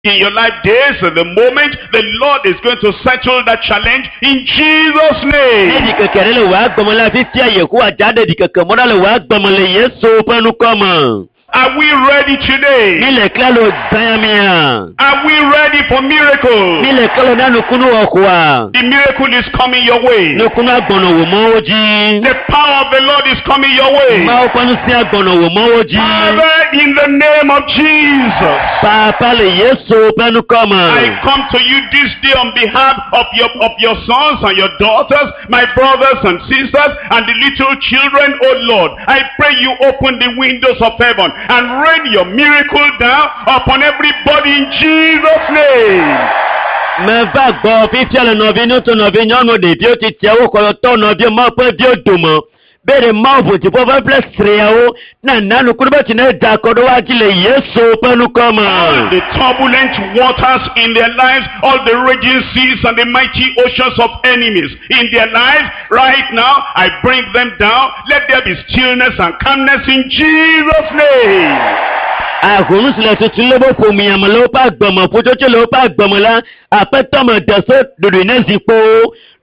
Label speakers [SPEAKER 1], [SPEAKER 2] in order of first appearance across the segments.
[SPEAKER 1] In your life, this is the moment the Lord is going to settle that challenge in Jesus'
[SPEAKER 2] Ne
[SPEAKER 1] name.
[SPEAKER 2] ɖikeke ɖe le wò agbeme la, fifia Yehowa dza ɖe ɖikeke mɔ ɖa le wò agbeme le Yesu ƒe ŋkɔ me.
[SPEAKER 1] Are we ready
[SPEAKER 2] Mi
[SPEAKER 1] today?
[SPEAKER 2] le klalo gbãmia.
[SPEAKER 1] Are we ready for
[SPEAKER 2] Mi
[SPEAKER 1] miracles?
[SPEAKER 2] le klalo na nukunu wɔxɔa.
[SPEAKER 1] The miracle is coming your way.
[SPEAKER 2] Nukunu agbɔnɔ wò mɔwo dzi.
[SPEAKER 1] The power of the Lord is coming your way.
[SPEAKER 2] Mawu ƒe ŋusẽ agbɔnɔ wò mɔwo dzi.
[SPEAKER 1] Father, in the name of Jesus,
[SPEAKER 2] Papa le Yesu ƒe ŋkɔ me.
[SPEAKER 1] I come to you this day on behalf of your sons and your daughters, my brothers and sisters, and the little children, O Lord. I pray you open the windows of heaven and rain your miracle down upon everybody in Jesus' name.
[SPEAKER 2] Meva gbɔ fifia le nɔvi ŋutsu nɔvi nyɔnu ɖeviwo tsitsiawo kɔyɔtɔ nɔviwo Mawu ƒe viwo dome. Be ɖe Mawu ʋu dziƒo ƒe ƒle sriawo na na nukunu be tsi ne da kɔ ɖe woa dzi le Yesu ƒe ŋkɔ me.
[SPEAKER 1] All the turbulent waters in their lives, all the raging seas and the mighty oceans of enemies in their lives, right now, I bring them down. Let there be stillness and calmness in Jesus' name.
[SPEAKER 2] Ahom si le tutum le woƒe ƒomea me le woƒe agbeme, ƒutsotso le woƒe agbeme la, aƒetɔ me de se ɖoɖoe ne zi kpo,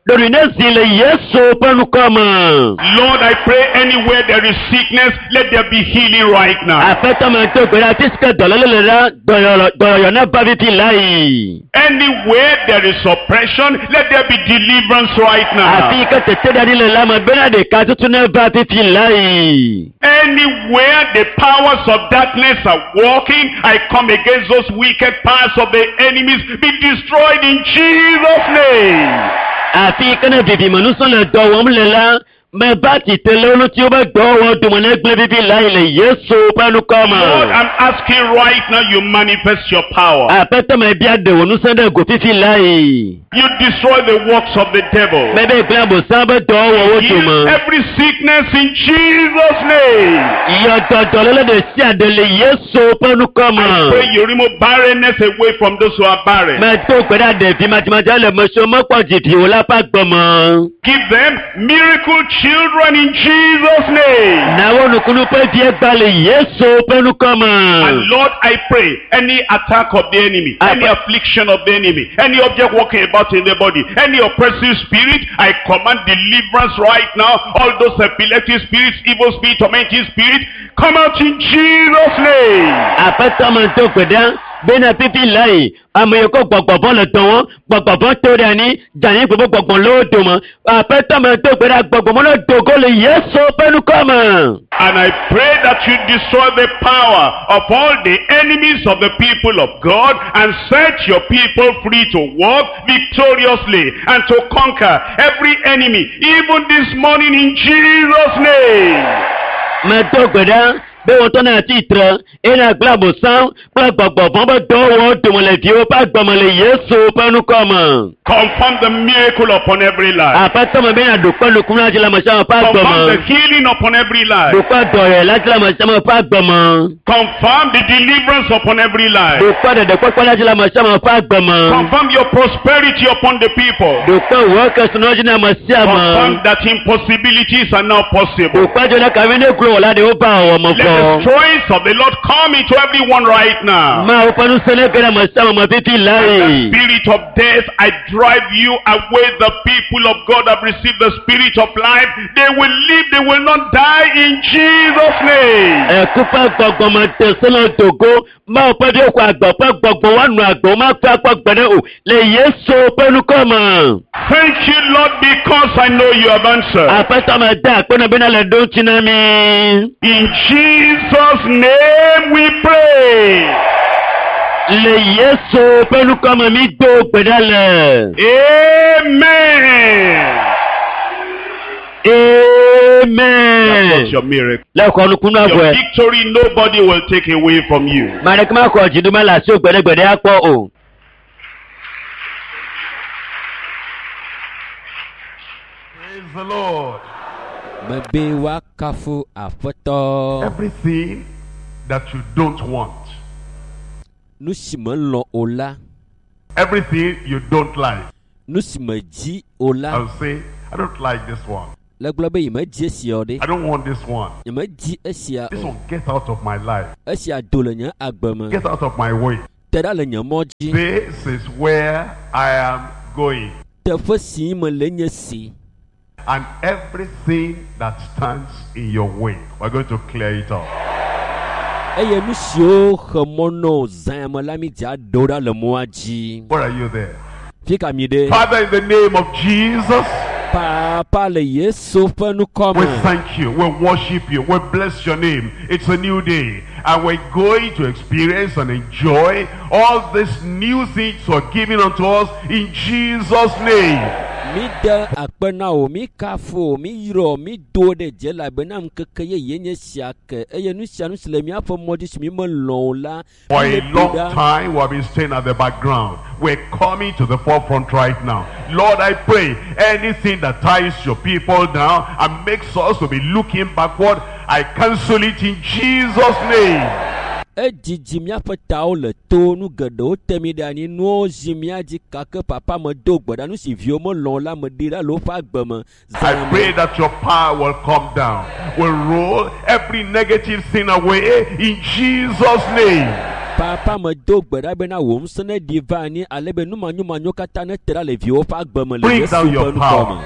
[SPEAKER 2] ɖoɖoe ne zi le Yesu ƒe ŋkɔ me.
[SPEAKER 1] Lord, I pray anywhere there is sickness, let there be healing right now.
[SPEAKER 2] Aƒetɔ me do gbe ɖa afi si ke dɔléle le la, dɔyɔyɔ ne va fifi lae.
[SPEAKER 1] Anywhere there is oppression, let there be deliverance right now.
[SPEAKER 2] Afi yi ke teteɖeanyi le la me bena ɖeka tutu ne va fifi lae.
[SPEAKER 1] Anywhere the powers of darkness are working, I come against those wicked powers of the enemies. Be destroyed in Jesus' name.
[SPEAKER 2] Afi yi ke ne vivimenusɔ le dɔ wɔm le la, meva tsitre le wo ŋuti wobe dɔwɔwɔ dome ne gblẽ fifi lae le Yesu ƒe ŋkɔ me.
[SPEAKER 1] Lord, I'm asking right now you manifest your power.
[SPEAKER 2] Aƒetɔ me bia ɖe wò ŋusẽ ɖe go fifi lae.
[SPEAKER 1] You destroy the works of the devil.
[SPEAKER 2] Mebe gblẽ abosam be dɔwɔwɔwo
[SPEAKER 1] Heal
[SPEAKER 2] dome.
[SPEAKER 1] every sickness in Jesus' name.
[SPEAKER 2] Yɔ dɔdɔléle ɖe sia ɖe le Yesu ƒe ŋkɔ me.
[SPEAKER 1] I pray you remove barrenness away from those who are barren.
[SPEAKER 2] Medo gbe ɖa ɖevi madzemadze le ame siwo mekpɔ dzivi o la ƒe agbe me.
[SPEAKER 1] Give them miracle children in Jesus' name.
[SPEAKER 2] Na wo nukunu ƒe vie gba le Yesu ƒe ŋkɔ me.
[SPEAKER 1] And Lord, I pray any attack of the enemy, any affliction of the enemy, any object walking about in the body, any oppressive spirit, I command deliverance right now. All those epileptic spirits, evil spirit, tormenting spirit, come out in Jesus' name.
[SPEAKER 2] Aƒetɔ me do gbe ɖa bena fifi lae ame yiwo ke gbɔgbɔvɔ le dɔ wɔm, gbɔgbɔvɔ to ɖe anyi, dzanyi gbogbo gbɔgbɔ le wo dome. Aƒetɔ me do gbe ɖa gbɔgbɔ me ne do go le Yesu ƒe ŋkɔ me.
[SPEAKER 1] And I pray that you destroy the power of all the enemies of the people of God and set your people free to walk victoriously and to conquer every enemy, even this morning in Jesus' name.
[SPEAKER 2] Medo gbe ɖa be wotɔ na tsitre eye nagblẽ abosam kple gbɔgbɔvɔ be dɔwɔwɔ dome le viwo ƒe agbe me le Yesu ƒe ŋkɔ me.
[SPEAKER 1] Confirm the miracle upon every life.
[SPEAKER 2] Aƒetɔ me bena ɖokpe nukunu la dzi le ame sia ame ƒe agbe
[SPEAKER 1] Confirm the
[SPEAKER 2] me.
[SPEAKER 1] healing upon every life.
[SPEAKER 2] Ɖokpe dɔyɔyɔ la dzi le ame sia ame ƒe agbe me.
[SPEAKER 1] Confirm the deliverance upon every life.
[SPEAKER 2] Ɖokpe ɖeɖekpɔkpɔ la dzi le ame sia ame ƒe agbe me.
[SPEAKER 1] Confirm your prosperity upon the people.
[SPEAKER 2] Ɖokpe wò kesinɔ dzi na ame sia
[SPEAKER 1] Confirm
[SPEAKER 2] ame.
[SPEAKER 1] that impossibilities are now possible.
[SPEAKER 2] Ɖokpe dzo ɖe kavi ne glo wò la ɖe wova wɔ me
[SPEAKER 1] Let the
[SPEAKER 2] vɔ.
[SPEAKER 1] strength of the Lord come into everyone right now.
[SPEAKER 2] Mawu ƒe ŋusẽ ne ge ɖe ame sia ame me fifi
[SPEAKER 1] The
[SPEAKER 2] lae.
[SPEAKER 1] spirit of death, I drive you away. The people of God have received the spirit of life. They will live, they will not die in Jesus' name.
[SPEAKER 2] Ẹ̀kú ƒe gbɔgbɔme te sele dogo Mawu ƒe viwo xɔ agbe ƒe gbɔgbɔ woanɔ agbe womakpɔ akpɔ gbe ɖe o le Yesu ƒe ŋkɔ me.
[SPEAKER 1] Thank you, Lord, because I know you have answered.
[SPEAKER 2] Aƒetɔ me de akpe na bena le ɖo ŋuti na mi.
[SPEAKER 1] In Jesus' name we pray.
[SPEAKER 2] Le Yesu ƒe ŋkɔ me mi do gbe ɖa le.
[SPEAKER 1] Amen. That's
[SPEAKER 2] Amen.
[SPEAKER 1] your miracle.
[SPEAKER 2] Le xɔ nukunu
[SPEAKER 1] Your
[SPEAKER 2] avɔe.
[SPEAKER 1] victory nobody will take away from you.
[SPEAKER 2] Ame ɖeke maxɔ dziɖume le asiwò gbeɖegbeɖe akpɔ o.
[SPEAKER 1] Praise the Lord.
[SPEAKER 3] Mebe woakafu Aƒetɔ.
[SPEAKER 1] Everything that you don't want,
[SPEAKER 3] Nu si melɔ̃ o la,
[SPEAKER 1] everything you don't like.
[SPEAKER 3] nu si medzi o la,
[SPEAKER 1] I'll say, I don't like this one.
[SPEAKER 3] le gblɔ be nyemedzi esia o ɖe.
[SPEAKER 1] I don't want this one.
[SPEAKER 3] Nyemedzi esia
[SPEAKER 1] This
[SPEAKER 3] o.
[SPEAKER 1] one, get out of my life.
[SPEAKER 3] Esia do le nye agbe me.
[SPEAKER 1] Get out of my way.
[SPEAKER 3] Te ɖa le nye mɔ dzi.
[SPEAKER 1] This is where I am going.
[SPEAKER 3] Teƒe si mele nye si.
[SPEAKER 1] And everything that stands in your way, we're going to clear it up.
[SPEAKER 3] Eye nu siwo xe mɔ na wò zã me la mi dza ɖewo ɖa le mɔa dzi.
[SPEAKER 1] Where are you there?
[SPEAKER 3] Fi ka mi ɖe?
[SPEAKER 1] Father, in the name of Jesus,
[SPEAKER 3] Papa le Yesu ƒe ŋkɔ
[SPEAKER 1] we
[SPEAKER 3] me.
[SPEAKER 1] thank you, we worship you, we bless your name. It's a new day, and we're going to experience and enjoy all these new things you are giving unto us in Jesus' name.
[SPEAKER 3] Mi de akpe na wò, mi kafu wò, mi yrɔ, mi do ɖe dze elabena ŋkeke yeye nye sia ke eye nu sia nu si le míaƒe mɔ dzi si mi melɔ̃ o la,
[SPEAKER 1] For
[SPEAKER 3] mi
[SPEAKER 1] a
[SPEAKER 3] le do
[SPEAKER 1] long
[SPEAKER 3] ɖa.
[SPEAKER 1] time, we have been staying at the background. We're coming to the forefront right now. Lord, I pray anything that ties your people down and makes us to be looking backward, I cancel it in Jesus' name.
[SPEAKER 3] Edzidzi míaƒe tawo le to, nu geɖewo te mi ɖe anyi, nuwo zi mía dzi gake papa medo gbe ɖa nu si viwo melɔ̃ o la meɖi ɖa le woƒe agbe me.
[SPEAKER 1] I
[SPEAKER 3] Zã
[SPEAKER 1] pray
[SPEAKER 3] me.
[SPEAKER 1] that your power will come down, will roll every negative thing away in Jesus' name.
[SPEAKER 3] Papa medo gbe ɖa bena wò ŋusẽ neɖi va anyi ale be numanyomanyo katã nete ɖa le viwo ƒe agbe me le
[SPEAKER 1] Bring
[SPEAKER 3] Yesu
[SPEAKER 1] down
[SPEAKER 3] ƒe
[SPEAKER 1] your
[SPEAKER 3] ŋkɔ
[SPEAKER 1] power.
[SPEAKER 3] me.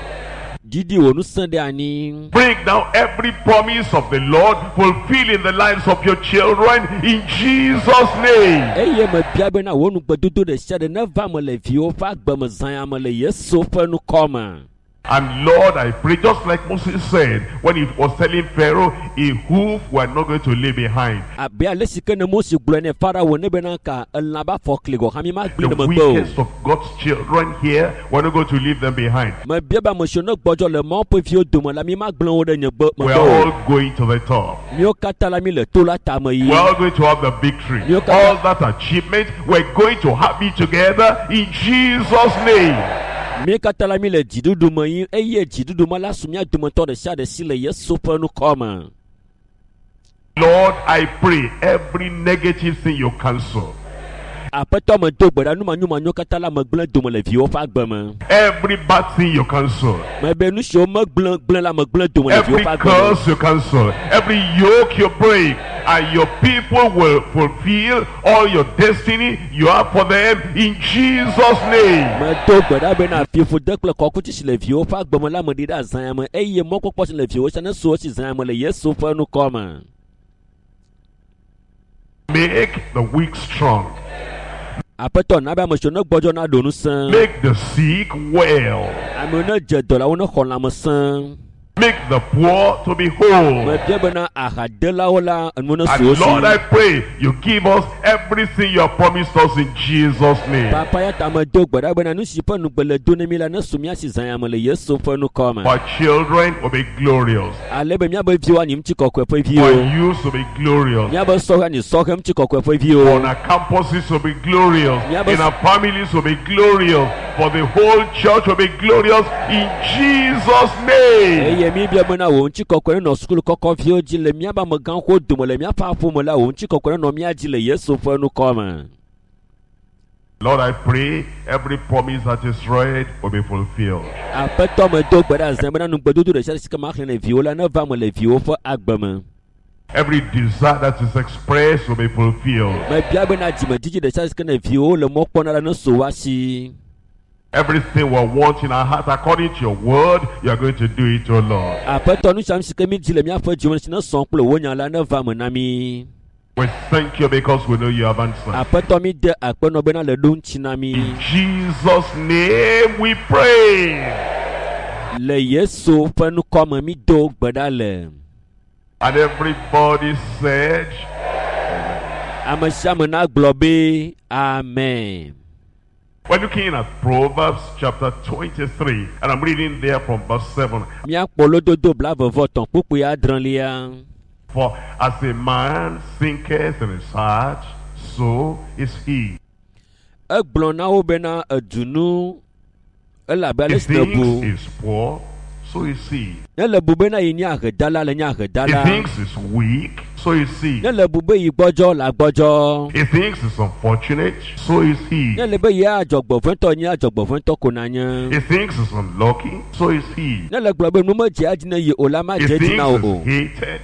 [SPEAKER 3] Didi wò ŋusẽ ɖe anyi.
[SPEAKER 1] Break down every promise of the Lord, fulfill in the lives of your children in Jesus' name.
[SPEAKER 3] Eye mebia bena wò nugbedodo ɖe sia ɖe neva me le viwo ƒe agbe me zã ya me le Yesu ƒe ŋkɔ me.
[SPEAKER 1] And Lord, I pray, just like Moses said when he was telling Pharaoh, a hoof we are not going to leave behind.
[SPEAKER 3] Abe ale si ke ne Mose gblɔe ne Farao ne bena ka elã be afɔkli gɔ̃ hã mi magblẽ
[SPEAKER 1] The
[SPEAKER 3] ɖe megbe o.
[SPEAKER 1] weakest of God's children here, we're not going to leave them behind.
[SPEAKER 3] Mebia be ame siwo ne gbɔdzɔ le Mawu ƒe viwo dome la mi magblẽ wo ɖe nye gbe
[SPEAKER 1] We're
[SPEAKER 3] megbe o.
[SPEAKER 1] all going to the top.
[SPEAKER 3] Míawo katã la mi le to la tame yim.
[SPEAKER 1] We're all going to have the victory. All that achievement, we're going to have it together in Jesus' name.
[SPEAKER 3] Mí katã la mi le dziɖuɖu me yim eye dziɖuɖu me la su mía dometɔ ɖe sia ɖe si le Yesu ƒe ŋkɔ me.
[SPEAKER 1] Lord, I pray every negative thing you cancel,
[SPEAKER 3] Aƒetɔ medo gbe ɖa numanyomanyo katã la megblẽ dome le viwo ƒe agbe me.
[SPEAKER 1] every bad thing you cancel,
[SPEAKER 3] Mebe nu siwo megblẽ gblẽ la megblẽ dome le viwo
[SPEAKER 1] every
[SPEAKER 3] ƒe agbe me.
[SPEAKER 1] curse you cancel, every yoke you break, and your people will fulfill all your destiny you have for them in Jesus' name.
[SPEAKER 3] Medo gbe ɖa bena fiƒode kple kɔkuti si le viwo ƒe agbe me la meɖi ɖe azã ya me eye mɔkpɔkpɔ si le viwo sia nesu wo si zã ya me le Yesu ƒe ŋkɔ me.
[SPEAKER 1] Make the weak strong,
[SPEAKER 3] Aƒetɔ na be ame siwo ne gbɔdzɔ naɖo ŋusẽ.
[SPEAKER 1] make the sick well,
[SPEAKER 3] Amewo ne dze dɔ la wo nexɔ lãmesẽ.
[SPEAKER 1] make the poor to be whole.
[SPEAKER 3] Mebia bena ahadelawo la enuwo nesu
[SPEAKER 1] And
[SPEAKER 3] wo
[SPEAKER 1] Lord, I
[SPEAKER 3] si.
[SPEAKER 1] pray you give us everything you have promised us in Jesus' name.
[SPEAKER 3] Papa ya ta medo gbe ɖa bena nu si ƒe nugbe le do ne mi la nesu mía si zã ya me le Yesu ƒe ŋkɔ me.
[SPEAKER 1] Our children will be glorious.
[SPEAKER 3] Ale be míabe viwo anyi ŋutikɔkɔe ƒe
[SPEAKER 1] Our
[SPEAKER 3] viwo.
[SPEAKER 1] youth will be glorious.
[SPEAKER 3] Míabe sɔhɛ anyi sɔhɛ ŋutikɔkɔe ƒe viwo.
[SPEAKER 1] On our campuses will be glorious.
[SPEAKER 3] Yeah, but-
[SPEAKER 1] In our families will be glorious. For the whole church will be glorious in Jesus' name.
[SPEAKER 3] Eye mi bia bena wò ŋutikɔkɔe nenɔ sukulu kɔkɔ viwo dzi le míabe amegãxowo dome le míaƒe aƒome la wò ŋutikɔkɔe nenɔ mía dzi le Yesu ƒe ŋkɔ me.
[SPEAKER 1] Lord, I pray every promise that is read will be fulfilled.
[SPEAKER 3] Aƒetɔ medo gbe ɖa zã bena nugbedodo ɖe sia ɖe si ke maxlẽ ne viwo la neva me le viwo ƒe agbe me.
[SPEAKER 1] Every desire that is expressed will be fulfilled.
[SPEAKER 3] Mebia bena dzimedzidzi ɖe sia ɖe si ke ne viwo le mɔ kpɔm na la nesu woa si.
[SPEAKER 1] Everything we want in our heart according to your word, you are going to do it, O Lord.
[SPEAKER 3] Aƒetɔ nu sia nu si ke mi dzi le míaƒe dzime si nesɔ kple wò nya la neva me na mi.
[SPEAKER 1] We thank you because we know you have answered.
[SPEAKER 3] Aƒetɔ mi de akpe nɔ bena le ɖo ŋuti na mi.
[SPEAKER 1] In Jesus' name we pray.
[SPEAKER 3] Le Yesu ƒe ŋkɔ me mi do gbe ɖa le.
[SPEAKER 1] And everybody said,
[SPEAKER 3] Ame sia ame nagblɔ be amen.
[SPEAKER 1] We're looking at Proverbs chapter 23, and I'm reading there from verse 7.
[SPEAKER 3] Míakpɔ lododo blaeve-vɔ-etɔ̃ kpukpui adrelia.
[SPEAKER 1] For as a man thinketh in his heart, so is he.
[SPEAKER 3] Egblɔ na wo bena edunu elabe
[SPEAKER 1] He
[SPEAKER 3] ale si nèbu.
[SPEAKER 1] thinks he's poor, so is he.
[SPEAKER 3] Ne le bu bena yi nye ahedala le nye
[SPEAKER 1] He
[SPEAKER 3] ahedala.
[SPEAKER 1] thinks he's weak, so is he.
[SPEAKER 3] Ne le bu be yi gbɔdzɔ le agbɔdzɔ.
[SPEAKER 1] He thinks he's unfortunate, so is he.
[SPEAKER 3] Ne le be ye adzɔgbɔvɔ̃tɔ nye adzɔgbɔvɔ̃tɔ ko nanye.
[SPEAKER 1] He thinks he's unlucky, so is he.
[SPEAKER 3] Ne le gblɔ be nu medzea dzi ne ye o la
[SPEAKER 1] He
[SPEAKER 3] madze dzi
[SPEAKER 1] thinks
[SPEAKER 3] na wò o.
[SPEAKER 1] he's hated,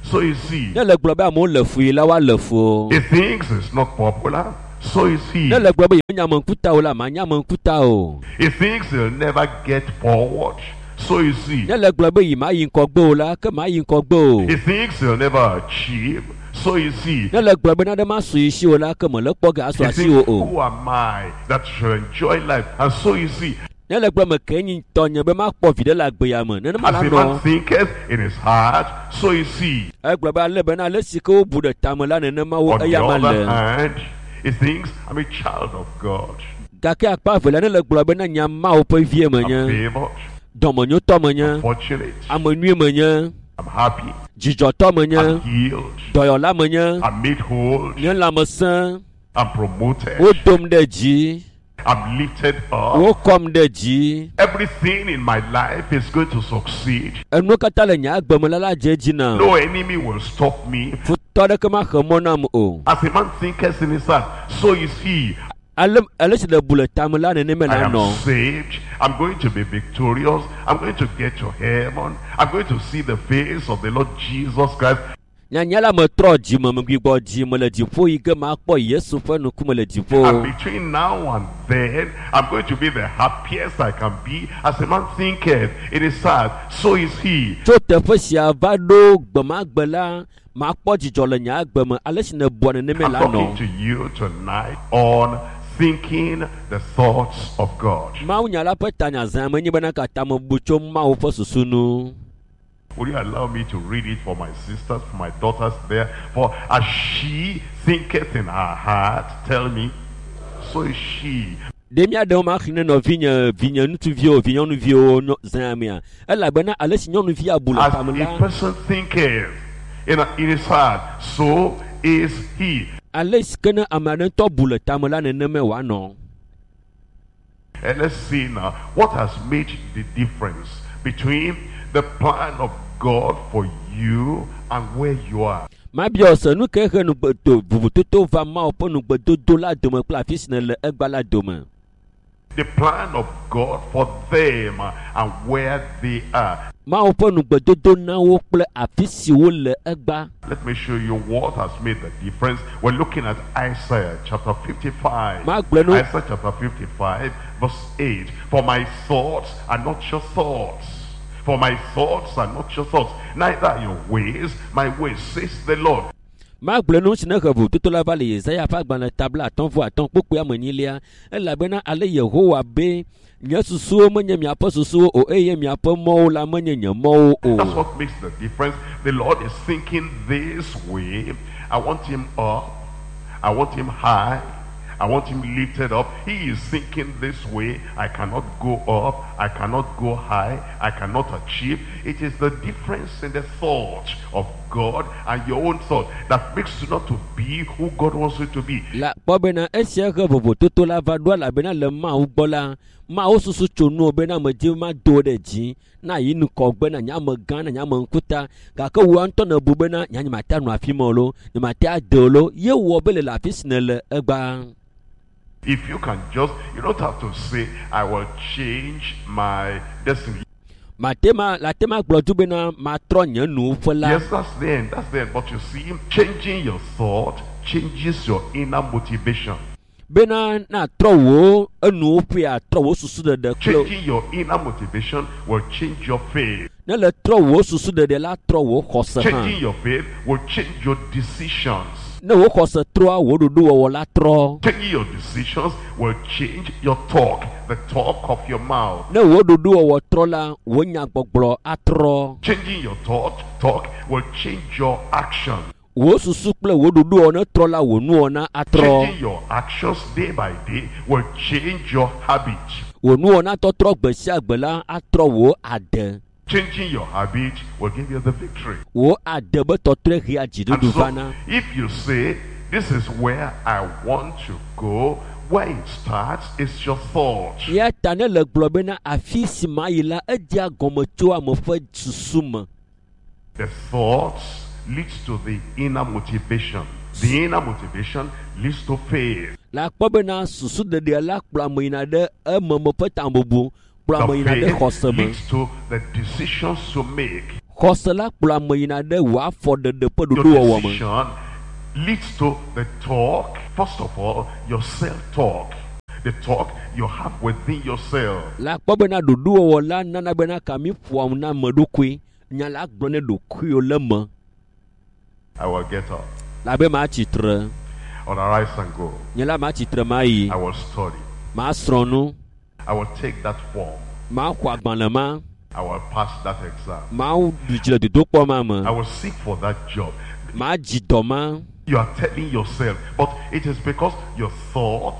[SPEAKER 1] so is he.
[SPEAKER 3] Ne le gblɔ be amewo le fui la woale fu o.
[SPEAKER 1] He thinks he's not popular,
[SPEAKER 4] so is he.
[SPEAKER 3] Ne le gblɔ be yemenya ame ŋkuta o la, manya ame ŋkuta o.
[SPEAKER 4] He thinks he'll never get forward, so is he.
[SPEAKER 3] Ne le gblɔ be yi ma yi ŋgɔgbe o la, ke ma yi ŋgɔgbe o.
[SPEAKER 4] He thinks he'll never achieve, so is he.
[SPEAKER 3] Ne le gblɔ be nane masu yi si o la, ke mele kpɔ ge asu
[SPEAKER 4] He
[SPEAKER 3] asi o
[SPEAKER 4] thinks,
[SPEAKER 3] o.
[SPEAKER 4] who am I that shall enjoy life? And so is he.
[SPEAKER 3] Ne le gblɔ me ke nyi tɔnye be makpɔ vi ɖe le agbe ya me. Nenema
[SPEAKER 4] As
[SPEAKER 3] la
[SPEAKER 4] a man
[SPEAKER 3] nɔ.
[SPEAKER 4] thinketh in his heart, so is he.
[SPEAKER 3] Egblɔ be ale bena ale si ke wobu ɖe tame la nenema wo
[SPEAKER 4] On the
[SPEAKER 3] eya ma
[SPEAKER 4] other
[SPEAKER 3] le.
[SPEAKER 4] hand, he thinks, I'm a child of God.
[SPEAKER 3] Gake akpa evelia ne le gblɔ bena nya Mawu ƒe vie
[SPEAKER 4] I'm
[SPEAKER 3] menye,
[SPEAKER 4] favored,
[SPEAKER 3] dɔmenyotɔ menye,
[SPEAKER 4] fortunate,
[SPEAKER 3] ame nyui menye,
[SPEAKER 4] I'm happy,
[SPEAKER 3] dzidzɔtɔ menye,
[SPEAKER 4] I'm healed,
[SPEAKER 3] dɔyɔla menye,
[SPEAKER 4] I'm made whole,
[SPEAKER 3] nye lãmesẽ,
[SPEAKER 4] I'm promoted,
[SPEAKER 3] wodom ɖe dzi,
[SPEAKER 4] I'm lifted up.
[SPEAKER 3] wokɔm ɖe dzi.
[SPEAKER 4] Everything in my life is going to succeed.
[SPEAKER 3] Enuwo katã le nye agbe me la la dze edzi nam.
[SPEAKER 4] No enemy will stop me.
[SPEAKER 3] Futɔ aɖeke maxe mɔ nam o.
[SPEAKER 4] As a man thinketh in his heart, so is he.
[SPEAKER 3] Ale ale si le bu le tame la nenema
[SPEAKER 4] I
[SPEAKER 3] la
[SPEAKER 4] am
[SPEAKER 3] nɔ.
[SPEAKER 4] saved. I'm going to be victorious. I'm going to get to heaven. I'm going to see the face of the Lord Jesus Christ.
[SPEAKER 3] Nyanya la metrɔ dzime megbigbɔ dzime le dziƒo yi ke makpɔ Yesu ƒe ŋkume le
[SPEAKER 4] And
[SPEAKER 3] dziƒo.
[SPEAKER 4] between now and then, I'm going to be the happiest I can be. As a man thinketh in his heart, so is he.
[SPEAKER 3] Tso teƒe sia va ɖo gbemagbe la, makpɔ dzidzɔ le nye agbe me. Ale si nèbua nenema
[SPEAKER 4] I'm
[SPEAKER 3] la
[SPEAKER 4] talking
[SPEAKER 3] nɔ.
[SPEAKER 4] to you tonight on thinking the thoughts of God.
[SPEAKER 3] Mawunya la ƒe tanya zã menye bena katã mebu tso Mawu ƒe susu nu.
[SPEAKER 4] Will you allow me to read it for my sisters, for my daughters there? For as she thinketh in her heart, tell me, so is she.
[SPEAKER 3] Ɖe míaɖewo maxlẽ ne nɔvinye vinye ŋutsuviwo vinyɔnuviwo nyɔ- zã mea elabena ale si nyɔnuvi abu le
[SPEAKER 4] As
[SPEAKER 3] tame
[SPEAKER 4] a
[SPEAKER 3] la
[SPEAKER 4] person thinketh in his heart, so is he.
[SPEAKER 3] ale si ke ne ame aɖe ŋutɔ bu le tame la nenemae wòanɔ.
[SPEAKER 4] And let's see now what has made the difference between the plan of God for you and where you are.
[SPEAKER 3] Mabiɔ se nu ke he nugbedo vovototo va Mawu ƒe nugbedodo la dome kple afi si nèle egba la dome.
[SPEAKER 4] The plan of God for them and where they are.
[SPEAKER 3] Mawu ƒe nugbedodo na wo kple afi si wole egba.
[SPEAKER 4] Let me show you what has made the difference. We're looking at Isaiah chapter 55.
[SPEAKER 3] Magblɔ nu
[SPEAKER 4] Isaiah chapter 55, verse 8. For my thoughts are not your thoughts. For my thoughts are not your thoughts, neither are your ways my ways, says the Lord.
[SPEAKER 3] Magblɔ nu si ne he vovototo la va le Yesaya ƒe agbalẽ tabla 5 atɔ̃ kpukpui ame enyilia elabena ale Yehowa be nye susuwo menye miaƒe susuwo o eye miaƒe mɔwo la menye nye mɔwo
[SPEAKER 4] That's
[SPEAKER 3] o.
[SPEAKER 4] what makes the difference. The Lord is thinking this way. I want him up. I want him high. I want him lifted up. He is thinking this way. I cannot go up. I cannot go high. I cannot achieve. It is the difference in the thought of God and your own thought that makes you not to be who God wants you to be.
[SPEAKER 3] La kpɔ bena esia he vovototo la va ɖo elabena le Mawu gbɔ la Mawu susu tso nuwo bena ame dzi ma do ɖe dzi na yi ŋgɔgbe na nye amegã na nye ame ŋkuta gake wò ŋutɔ nèbu bena nya nyemate anɔ afi ma o lo nyemate ade o lo ye wɔ be le le afi si nèle egba.
[SPEAKER 4] If you can just, you don't have to say, I will change my destiny.
[SPEAKER 3] Mate ma la te ma gblɔ du bena matrɔ nye nuƒe la.
[SPEAKER 4] Yes, that's the end. That's the end. But you see, changing your thought changes your inner motivation.
[SPEAKER 3] Bena natrɔ wò enuwo ƒe atrɔ wò susu ɖeɖe kple
[SPEAKER 4] Changing your inner motivation will change your faith.
[SPEAKER 3] ne le trɔ wò susu ɖeɖe la trɔ wò xɔse hã.
[SPEAKER 4] Changing your faith will change your decisions.
[SPEAKER 3] Ne wò xɔse trɔa wò ɖoɖowɔwɔ la trɔ.
[SPEAKER 4] Changing your decisions will change your talk, the talk of your mouth.
[SPEAKER 3] Ne wò ɖoɖowɔwɔ trɔ la wò nyagbɔgblɔ atrɔ.
[SPEAKER 4] Changing your talk will change your action.
[SPEAKER 3] Wò susu kple wò ɖoɖowɔwɔ ne trɔ la wò nuwɔna atrɔ.
[SPEAKER 4] Changing your actions day by day will change your habit.
[SPEAKER 3] Wò nuwɔna tɔtrɔ gbe sia gbe la atrɔ wò ade.
[SPEAKER 4] Changing your habit will give you the victory.
[SPEAKER 3] Wò ade be tɔtrɔe hea
[SPEAKER 4] And
[SPEAKER 3] dziɖuɖu
[SPEAKER 4] so,
[SPEAKER 3] vana.
[SPEAKER 4] if you say, this is where I want to go, where it starts is your thought.
[SPEAKER 3] Ya ta ne le gblɔ bena afi si ma yi la edzea gɔme tso ame ƒe susu me.
[SPEAKER 4] The thoughts leads to the inner motivation. The inner motivation leads to faith.
[SPEAKER 3] La kpɔ bena susu ɖeɖea la kplɔ ame yina ɖe ememe ƒe tamebubu kplɔ ame
[SPEAKER 4] The
[SPEAKER 3] yina ɖe
[SPEAKER 4] faith
[SPEAKER 3] xɔse me.
[SPEAKER 4] leads to the decisions to make.
[SPEAKER 3] Xɔse la kplɔ ame yina ɖe wò afɔɖeɖe ƒe
[SPEAKER 4] Your
[SPEAKER 3] ɖoɖowɔwɔ me.
[SPEAKER 4] decision leads to the talk. First of all, your self-talk. The talk you have within yourself.
[SPEAKER 3] La kpɔ bena ɖoɖowɔwɔ la nana bena ka mi ƒoa na ame ɖokui. Nya la gblɔ ne ɖokuiwo le me.
[SPEAKER 4] I will get up.
[SPEAKER 3] La be ma tsitre.
[SPEAKER 4] I will arise and go.
[SPEAKER 3] Nye la ma tsitre ma yi.
[SPEAKER 4] I will study.
[SPEAKER 3] Ma srɔ̃ nu.
[SPEAKER 4] I will take that form.
[SPEAKER 3] Ma xɔ agbalẽ ma.
[SPEAKER 4] I will pass that exam.
[SPEAKER 3] Ma ɖu dzi le dodokpɔ ma me.
[SPEAKER 4] I will seek for that job.
[SPEAKER 3] Ma dzi dɔ ma.
[SPEAKER 4] You are telling yourself, but it is because your thought,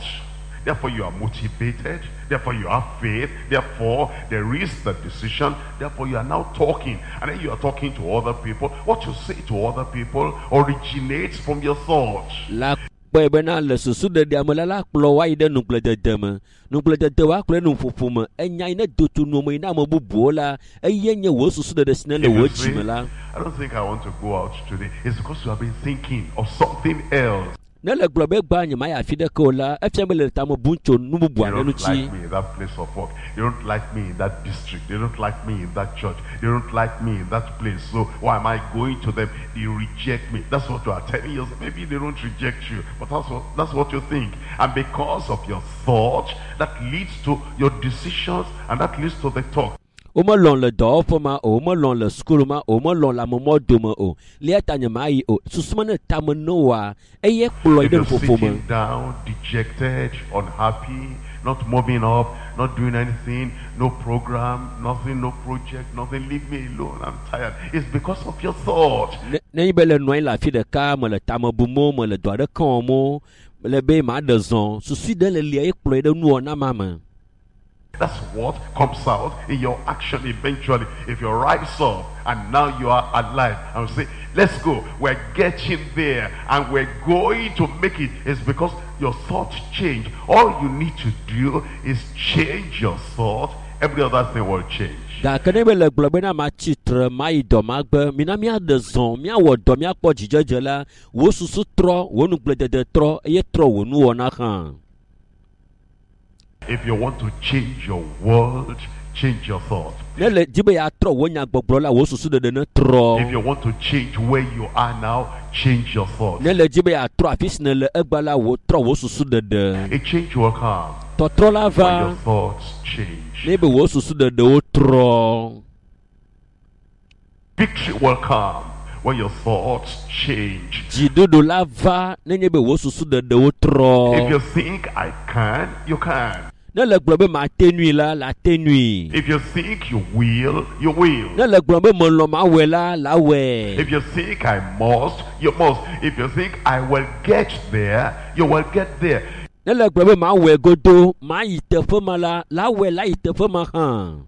[SPEAKER 4] therefore you are motivated, therefore you have faith, therefore there is the decision, therefore you are now talking, and then you are talking to other people. What you say to other people originates from your thoughts.
[SPEAKER 3] La kpɔe bena le susu ɖeɖea me la la kplɔ wa yi ɖe nugbledede me. Nugbledede wa kplɔe nuƒoƒo me. Enya yi ne do tso nu me yi na ame bubuwo la, eye nye wò susu ɖeɖe si ne le
[SPEAKER 4] If you
[SPEAKER 3] wò dzi
[SPEAKER 4] say,
[SPEAKER 3] me la.
[SPEAKER 4] I don't think I want to go out today, it's because you have been thinking of something else.
[SPEAKER 3] Ne le gblɔ be gba nye ma yi afi ɖeke o la, efia be le tame bum tso nu bubu
[SPEAKER 4] They
[SPEAKER 3] aɖe
[SPEAKER 4] don't
[SPEAKER 3] ŋuti.
[SPEAKER 4] like me in that place of work. They don't like me in that district. They don't like me in that church. They don't like me in that place. So why am I going to them? They reject me. That's what you are telling yourself. Maybe they don't reject you, but that's what you think. And because of your thought, that leads to your decisions and that leads to the talk.
[SPEAKER 3] Womelɔ̃ le dɔwɔƒe ma o, womelɔ̃ le sukulu ma o, womelɔ̃ le amemɔ dome o. Lia ta nye ma yi o. Susu ma ne tame ne woa, eye kplɔ yi
[SPEAKER 4] If
[SPEAKER 3] ɖe
[SPEAKER 4] you're
[SPEAKER 3] nuƒoƒo me.
[SPEAKER 4] sitting down, dejected, unhappy, not moving up, not doing anything, no program, nothing, no project, nothing, leave me alone, I'm tired. It's because of your thought.
[SPEAKER 3] Ne nenye be le nɔ anyi le afi ɖeka, mele tame bum o, mele dɔ aɖeke wɔm o, le be ma ɖe zɔ. Susu ɖe le lia ye kplɔ yi ɖe nuwɔna ma me.
[SPEAKER 4] That's what comes out in your action eventually. If you rise up and now you are alive and say, let's go, we're getting there and we're going to make it. It's because your thoughts change. All you need to do is change your thought. Every other thing will change.
[SPEAKER 3] Gake ne be le gblɔ bena ma tsitre, ma yi dɔ ma gbe, mina míaɖe zɔ, míawɔ dɔ, míakpɔ dzidzedze la, wò susu trɔ, wò nugbledede trɔ, eye trɔ wò nuwɔna hã.
[SPEAKER 4] If you want to change your world, change your thought.
[SPEAKER 3] Ne le di be yeatrɔ wò nyagbɔgblɔ la, wò susu ɖeɖe ne trɔ.
[SPEAKER 4] If you want to change where you are now, change your thought.
[SPEAKER 3] Ne le di be yeatrɔ afi si nèle egba la, wò trɔ wò susu ɖeɖe.
[SPEAKER 4] A change will come
[SPEAKER 3] Tɔtrɔ la
[SPEAKER 4] when
[SPEAKER 3] va
[SPEAKER 4] your thoughts change.
[SPEAKER 3] ne be wò susu ɖeɖewo trɔ.
[SPEAKER 4] Victory will come when your thoughts change.
[SPEAKER 3] Dziɖuɖu la va nenye be wò susu ɖeɖewo
[SPEAKER 4] If
[SPEAKER 3] trɔ.
[SPEAKER 4] you think I can, you can.
[SPEAKER 3] Ne le gblɔ be mate nui la, la te nui.
[SPEAKER 4] If you think you will, you will.
[SPEAKER 3] Ne le gblɔ be melɔ̃ mawɔe la, la wɔe.
[SPEAKER 4] If you think I must, you must. If you think I will get there, you will get there.
[SPEAKER 3] Ne le gblɔ be mawɔe godo, mayi teƒe ma la, la wɔe la yi teƒe ma hã.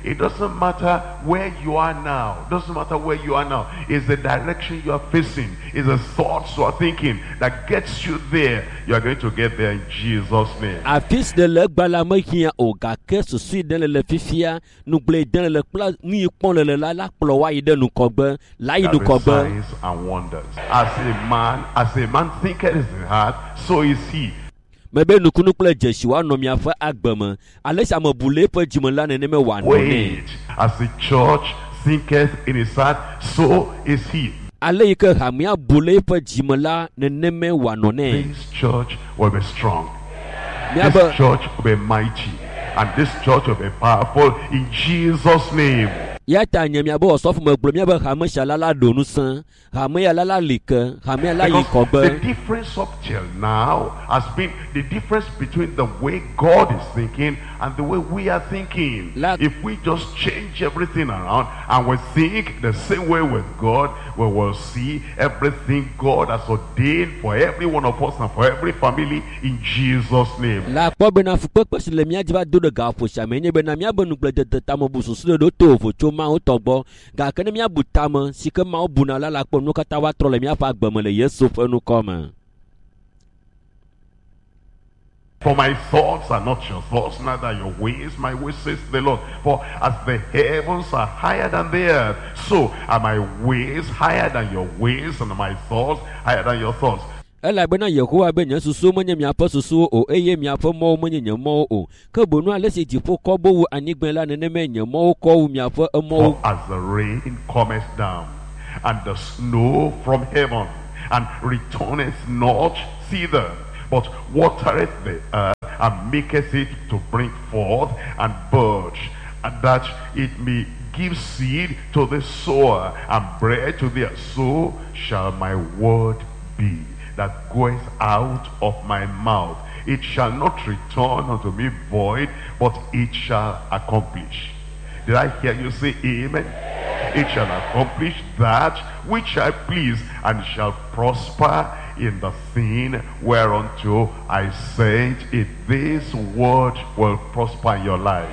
[SPEAKER 4] It doesn't matter where you are now. Doesn't matter where you are now. It's the direction you are facing. It's the thoughts you are thinking that gets you there. You are going to get there in Jesus' name.
[SPEAKER 3] Afi si ne le egba la mehiã o gake susu yi ɖe le le fifia, nugble yi ɖe le le kpla nu yi kpɔm le le la la kplɔ woayi ɖe nukɔgbe, la yi
[SPEAKER 4] There be
[SPEAKER 3] nukɔgbe.
[SPEAKER 4] signs and wonders. As a man thinketh in his heart, so is he.
[SPEAKER 3] Mebe nukunu kple dzesi woanɔ miaƒe agbe me. Ale si ame bu le eƒe dzime la nenema wòanɔ nɛ.
[SPEAKER 4] Wait. As the church thinketh in his heart, so is he.
[SPEAKER 3] Ale yi ke hamea bu le eƒe dzime la nenema wòanɔ nɛ.
[SPEAKER 4] This church will be strong.
[SPEAKER 3] Miabe
[SPEAKER 4] This church will be mighty. And this church will be powerful in Jesus' name.
[SPEAKER 3] Ya ta nye miabe osɔfo megblɔ miabe hame sia la la ɖo ŋusẽ, hame ya la la li ke, hame ya la yi
[SPEAKER 4] Because
[SPEAKER 3] kɔgbe.
[SPEAKER 4] the difference up till now has been the difference between the way God is thinking and the way we are thinking. If we just change everything around and we think the same way with God, we will see everything God has ordained for every one of us and for every family in Jesus' name.
[SPEAKER 3] La kpɔ bena fukpekpe si le mía dzi va do ɖe gaƒo sia me nye bena míabe nugbledede tamebu susu ɖe ɖo to vovo tso Mawu tɔ gbɔ. Gake ne míabu tame si ke Mawu buna la, la kpɔ nuwo katã woatrɔ le míaƒe agbe me le Yesu ƒe ŋkɔ me.
[SPEAKER 4] For my thoughts are not your thoughts, neither your ways my ways, says the Lord. For as the heavens are higher than the earth, so are my ways higher than your ways, and my thoughts higher than your thoughts.
[SPEAKER 3] Elabena Yehowa be nye susuwo menye miaƒe susuwo o, eye miaƒe mɔwo menye nye mɔwo o. Ke boŋu ale si dziƒo kɔ bo wu anyigbae la, nenemae nye mɔwo kɔ wu miaƒe emɔwo.
[SPEAKER 4] For as the rain cometh down, and the snow from heaven, and returneth not thither, but watereth the earth, and maketh it to bring forth and bud, and that it may give seed to the sower, and bread to the so shall my word be that goeth out of my mouth. It shall not return unto me void, but it shall accomplish. Did I hear you say amen? It shall accomplish that which I please, and shall prosper in the thing whereunto I sent it. This word will prosper in your life.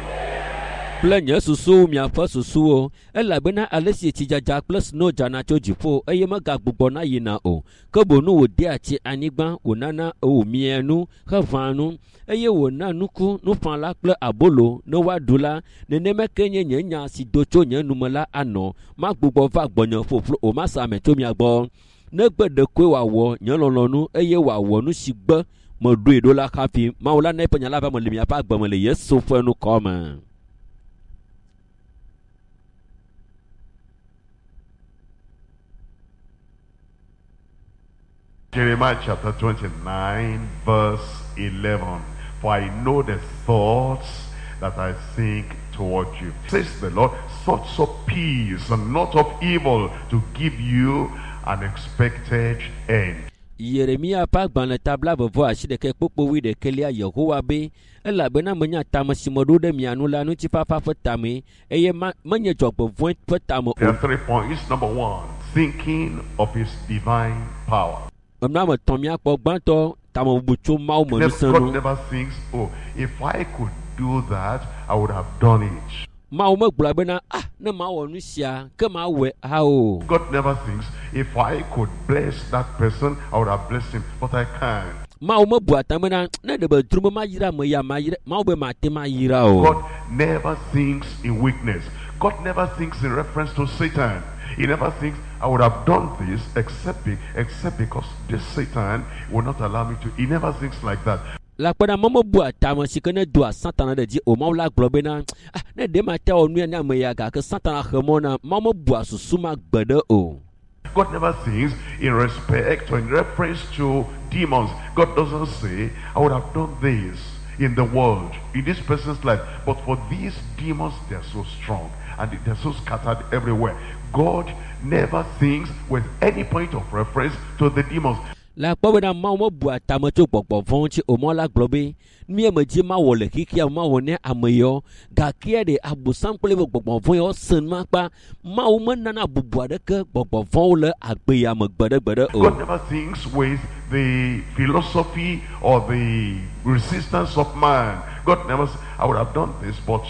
[SPEAKER 3] Kple nye susuwo miaƒe susuwo elabena ale si tsidzadza kple sno dzana tso dziƒo eye megagbugbɔna yina o ke boŋ wòdea tsi anyigba wònana wòmia nu heʋãa nu eye wòna nuku nuƒãla kple abolo ne woaɖu la nenema ke nye nye nya si do tso nye nume la anɔ magbugbɔ va gbɔnye ƒoƒlo o masa ame tso mia gbɔ negbe ɖekoe wòawɔ nye lɔlɔ̃nu eye wòawɔ nu si gbe meɖoe ɖo la hafi mawu la na eƒe nya la va me le miaƒe agbe me le Yesu ƒe ŋkɔ me.
[SPEAKER 4] Jeremiah chapter 29 verse 11. For I know the thoughts that I think toward you, says the Lord, thoughts of peace and not of evil, to give you an expected end.
[SPEAKER 3] Yeremia ƒe agbalẽ ta 28 kpukpui wuiɖekɛlia Yehowa be elabena menya tame si meɖo ɖe mia nu la ŋutifafa ƒe tame eye menye dzɔgbevɔ̃e ƒe tame
[SPEAKER 4] There
[SPEAKER 3] o.
[SPEAKER 4] are 3 points. Number 1, thinking of his divine power.
[SPEAKER 3] Enu ame etɔ̃ míakpɔ gbãtɔ tamebubu tso Mawu me ŋusẽ
[SPEAKER 4] God
[SPEAKER 3] nu.
[SPEAKER 4] never thinks, oh, if I could do that, I would have done it.
[SPEAKER 3] Mawu megblɔa bena ah ne mawɔ nu sia ke mawɔe ha o.
[SPEAKER 4] God never thinks, if I could bless that person, I would have blessed him, but I can't.
[SPEAKER 3] Mawu mebua ta bena ne ɖe be dro be mayra ame ya mayra Mawu be mate mayra o.
[SPEAKER 4] God never thinks in weakness. God never thinks in reference to Satan. He never thinks, I would have done this except because this Satan will not allow me to. He never thinks like that.
[SPEAKER 3] Le akpena me mebua tame si ke ne doa Satana ɖe dzi o. Mawu la gblɔ bena ah ne ɖe mate wɔ nu ya ne ame ya gake Satana xe mɔ na Mawu mebua susu ma gbe ɖe o.
[SPEAKER 4] God never thinks in respect or in reference to demons. God doesn't say, I would have done this in the world, in this person's life, but for these demons, they are so strong and they are so scattered everywhere. God never thinks with any point of reference to the demons.
[SPEAKER 3] Le akpɔ bena Mawu mebua tame tso gbɔgbɔ vɔ̃ ŋuti o. Mawu la gblɔ be nu ya medzi mawɔ le xexea me mawɔ ne ame yawo gake ɖe abosam kple eƒe gbɔgbɔ vɔ̃ yawo sẽ nu akpa. Mawu menana bubu aɖeke gbɔgbɔ vɔ̃wo le agbe ya me gbeɖegbeɖe o.
[SPEAKER 4] God never thinks with the philosophy or the resistance of man. God never says, I would have done this, but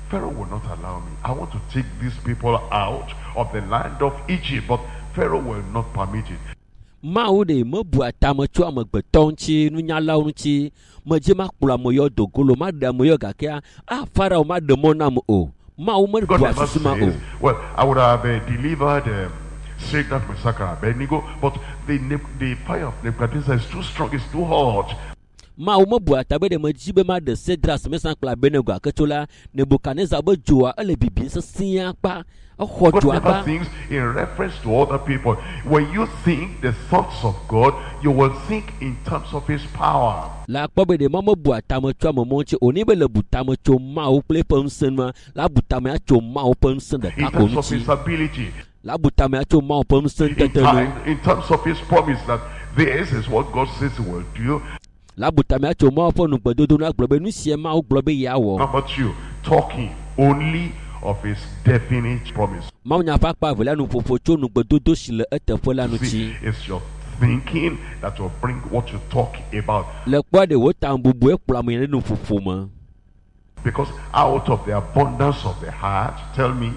[SPEAKER 4] Pharaoh will not allow me. I want to take these people out of the land of Egypt, but Pharaoh will not permit it.
[SPEAKER 3] Mawu ɖe mebua tame tso amegbetɔ ŋuti, nunyalawo ŋuti. Medzi makplɔ ame yawo do go lo, maɖe ame yawo gakea, ah, Farao maɖe mɔ nam o. Mawu
[SPEAKER 4] God
[SPEAKER 3] mebua
[SPEAKER 4] never
[SPEAKER 3] susu ma o.
[SPEAKER 4] says, well, I would have delivered Shadrach, Meshach, and Abednego, but the fire of Nebuchadnezzar is too strong, it's too hot.
[SPEAKER 3] Mawu mebua ta be ɖe medzi be maɖe Sedras, Mesak kple Abednego gake tso la, Nebukadnezar be dzoa ele bibim sesĩe akpa. Exɔ
[SPEAKER 4] God
[SPEAKER 3] dzoa
[SPEAKER 4] never
[SPEAKER 3] akpa.
[SPEAKER 4] thinks in reference to other people. When you think the thoughts of God, you will think in terms of his power.
[SPEAKER 3] Le akpɔ be ɖe Mawu mebua tame tso ame mɔ ŋuti o. Ne be le bu tame tso Mawu kple eƒe ŋusẽ nua, la bu tame atso Mawu ƒe ŋusẽ
[SPEAKER 4] In
[SPEAKER 3] ɖeka ko
[SPEAKER 4] terms of
[SPEAKER 3] ŋuti.
[SPEAKER 4] his ability.
[SPEAKER 3] La bu tame atso Mawu ƒe ŋusẽ ŋutete nu.
[SPEAKER 4] In terms of his promise that this is what God says he will do.
[SPEAKER 3] La bu tame atso Mawu ƒe nugbedodo nu agblɔ be nu sia Mawu gblɔ be yeawɔ.
[SPEAKER 4] Number 2, talking only of his definite promise.
[SPEAKER 3] Mawu nya ƒe akpa evelia nuƒoƒo tso nugbedodo si le eteƒe la ŋuti.
[SPEAKER 4] See, it's your thinking that will bring what you talk about.
[SPEAKER 3] Le kpɔa ɖe wò tamebubu ekplɔ ame ɖe nuƒoƒo me.
[SPEAKER 4] Because out of the abundance of the heart, tell me,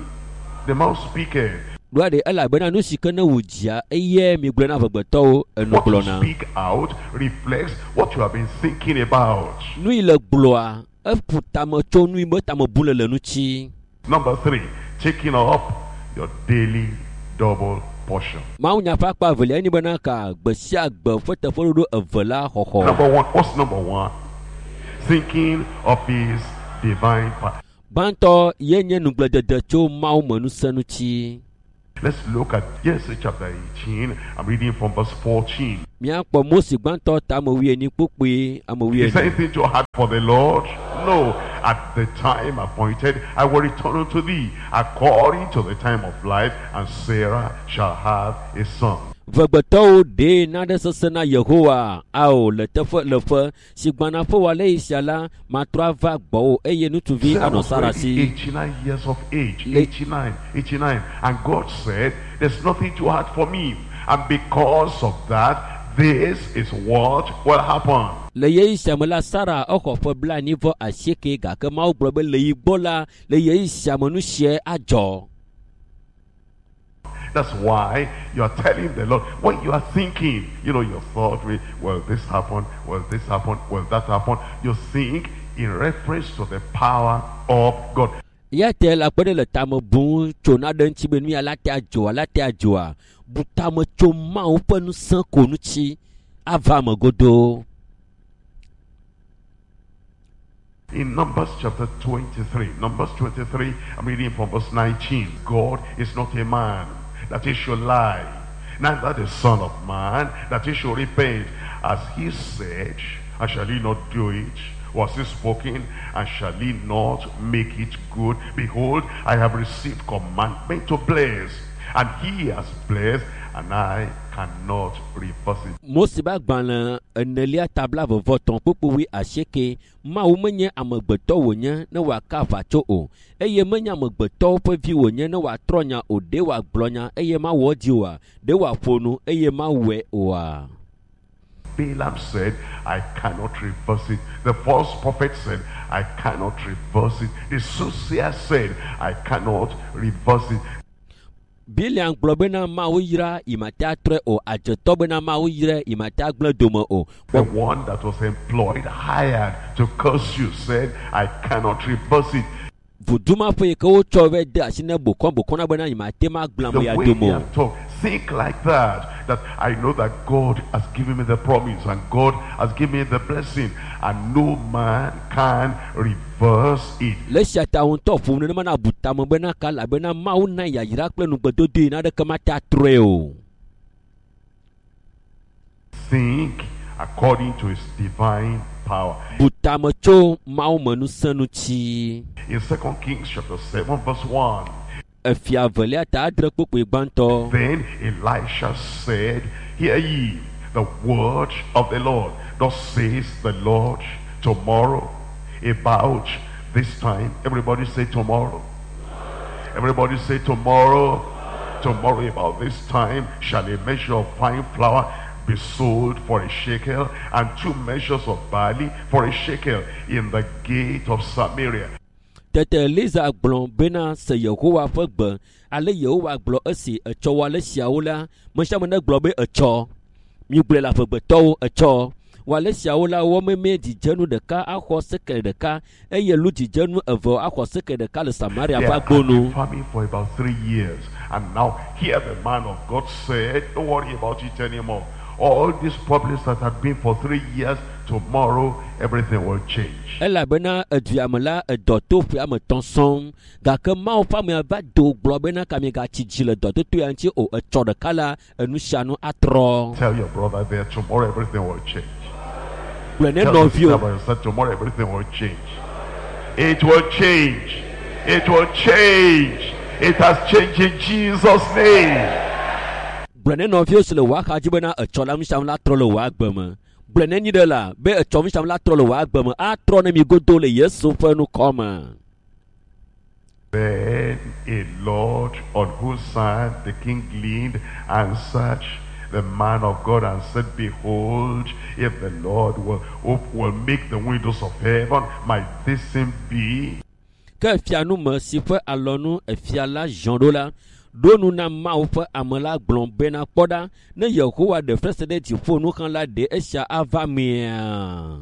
[SPEAKER 4] the mouth speaketh.
[SPEAKER 3] Ɖoa ɖe elabena nu si ke ne wò dzia eye mi gblɔ na amegbetɔwo enu
[SPEAKER 4] What you
[SPEAKER 3] gblɔna.
[SPEAKER 4] speak out reflects what you have been thinking about.
[SPEAKER 3] Nu yi le gblɔa eƒo tame tso nu yi be tame bu le le ŋuti.
[SPEAKER 4] Number 3, taking up your daily double portion.
[SPEAKER 3] Mawu nya ƒe akpa evelia enye bena ka gbe sia gbe ƒe teƒeɖoɖo eve la xɔxɔ.
[SPEAKER 4] Number 1, what's number 1? Thinking of his divine power.
[SPEAKER 3] Gbãtɔ ye nye nugbledede tso Mawu me ŋusẽ ŋuti.
[SPEAKER 4] Let's look at Genesis chapter 18. I'm reading from verse 14.
[SPEAKER 3] Míakpɔ Mose gbãtɔ ta ame wuienyi kpukpui ame
[SPEAKER 4] Is
[SPEAKER 3] wuiene.
[SPEAKER 4] anything too hard for the Lord? No. At the time appointed, I will return unto thee according to the time of life, and Sarah shall have a son.
[SPEAKER 3] Vegbetɔwo ɖee naɖe sesẽ na Yehowa ao le teƒe le ƒe si gbana ƒe wòale yi sia la matrɔ ava gbɔwò eye ŋutsuvi
[SPEAKER 4] Sarah
[SPEAKER 3] anɔ
[SPEAKER 4] was
[SPEAKER 3] Sara
[SPEAKER 4] already
[SPEAKER 3] si.
[SPEAKER 4] 89 years of age. 89, 89. And God said, there's nothing too hard for me. And because of that, this is what will happen.
[SPEAKER 3] Le ɣeyiɣi sia me la Sara exɔ ƒe 98 gake Mawu gblɔ be le yi gbɔ la le ɣeyiɣi sia me nu sia adzɔ.
[SPEAKER 4] That's why you are telling the Lord what you are thinking. You know, your thought, will this happen? Will this happen? Will that happen? You think in reference to the power of God.
[SPEAKER 3] Ya te la kpe ɖe le tame bum tso naɖe ŋuti be nu ya la te adzɔa la te adzɔa bu tame tso Mawu ƒe ŋusẽ ko ŋuti ava me godoo.
[SPEAKER 4] In Numbers chapter 23, Numbers 23, I'm reading from verse 19. God is not a man that he should lie, neither the son of man that he should repent. As he said, and shall he not do it? Was he spoken, and shall he not make it good? Behold, I have received commandment to bless, and he has blessed, and I cannot reverse it.
[SPEAKER 3] Mose ƒe agbalẽ enelia ta 23 kpukpui 8 Mawu menye amegbetɔ wònye ne wòaka aʋa tso o eye menye amegbetɔwo ƒe vi wònye ne wòatrɔ nya o ɖe wòagblɔ nya eye mawɔ edzi oa ɖe wòaƒo nu eye mawɔe oa.
[SPEAKER 4] Balaam said, I cannot reverse it. The false prophet said, I cannot reverse it. The soothsayer said, I cannot reverse it.
[SPEAKER 3] Biliam gblɔ bena Mawu yra yimate atrɔe o adzetɔ bena Mawu yra yimate agblẽ dome o.
[SPEAKER 4] The one that was employed, hired to curse you, said, I cannot reverse it.
[SPEAKER 3] Vuduma ƒe yi ke wotsɔ va de asi ne bokɔ bokɔ na bena yimate ma gblẽ
[SPEAKER 4] The
[SPEAKER 3] ame ya
[SPEAKER 4] way
[SPEAKER 3] dome
[SPEAKER 4] they
[SPEAKER 3] o.
[SPEAKER 4] have talked, think like that, that I know that God has given me the promise and God has given me the blessing, and no man can reverse it.
[SPEAKER 3] Le esia ta wo ŋutɔ ƒom nenema na bu tame bena ka elabena Mawu na yayra kple nugbedodo yi naɖeke mate atrɔe o.
[SPEAKER 4] Think according to his divine power.
[SPEAKER 3] Bu tame tso Mawu me ŋusẽ ŋuti.
[SPEAKER 4] In 2 Kings chapter 7 verse 1,
[SPEAKER 3] Efia evelia ta 6 kpukpui gbãtɔ.
[SPEAKER 4] Then Elisha said, Hear ye the word of the Lord. Thus says the Lord, tomorrow, about this time. Everybody say tomorrow. Everybody say tomorrow. Tomorrow about this time shall a measure of fine flour be sold for a shekel, and 2 measures of barley for a shekel in the gate of Samaria.
[SPEAKER 3] Tete Eliza gblɔ bena se Yehowa ƒe gbe ale Yehowa gblɔ esi etsɔ wɔ ale siawo la me sia ame ne gblɔ be etsɔ migblɔe le aƒegbetɔwo etsɔ wɔ ale siawo la wɔ meme dzidzenu ɖeka axɔ sekel ɖeka eye lu dzidzenu eve axɔ sekel ɖeka le Samaria
[SPEAKER 4] They
[SPEAKER 3] ƒe
[SPEAKER 4] had
[SPEAKER 3] agbonu.
[SPEAKER 4] been farming for about 3 years, and now here the man of God said, don't worry about it anymore. All these problems that have been for 3 years, tomorrow everything will change.
[SPEAKER 3] Elabena edua me la edɔ to ƒe ame etɔ̃ sɔŋ gake Mawu ƒe amea va do gblɔ bena ka miagatsi dzi le dɔtoto ya ŋuti o etsɔ ɖeka la enu sia nu atrɔ.
[SPEAKER 4] Tell your brother there, tomorrow everything will change.
[SPEAKER 3] Gblɔe ne
[SPEAKER 4] Tell your sister
[SPEAKER 3] nɔviwo
[SPEAKER 4] by yourself, tomorrow everything will change. It will change. It will change. It has changed in Jesus' name.
[SPEAKER 3] Gblɔe ne nɔviwo si le wò axa dzi bena etsɔ la nu sia nu la trɔ le wò agbe me. Gblɔe ne nyi ɖe la be etsɔ nu sia nu la trɔ le wò agbe me atrɔ ne mi godo le Yesu ƒe nukɔme.
[SPEAKER 4] Then a lord on whose side the king leaned answered the man of God and said, Behold, if the Lord will make the windows of heaven, might this thing be?
[SPEAKER 3] Ke fianume si ƒe alɔnu efia la ziɔ ɖo la ɖo nu na Mawu ƒe ame la gblɔ bena kpɔ ɖa ne Yehowa ɖe fesre ɖe dziƒo nu hã la ɖe esia ava mea.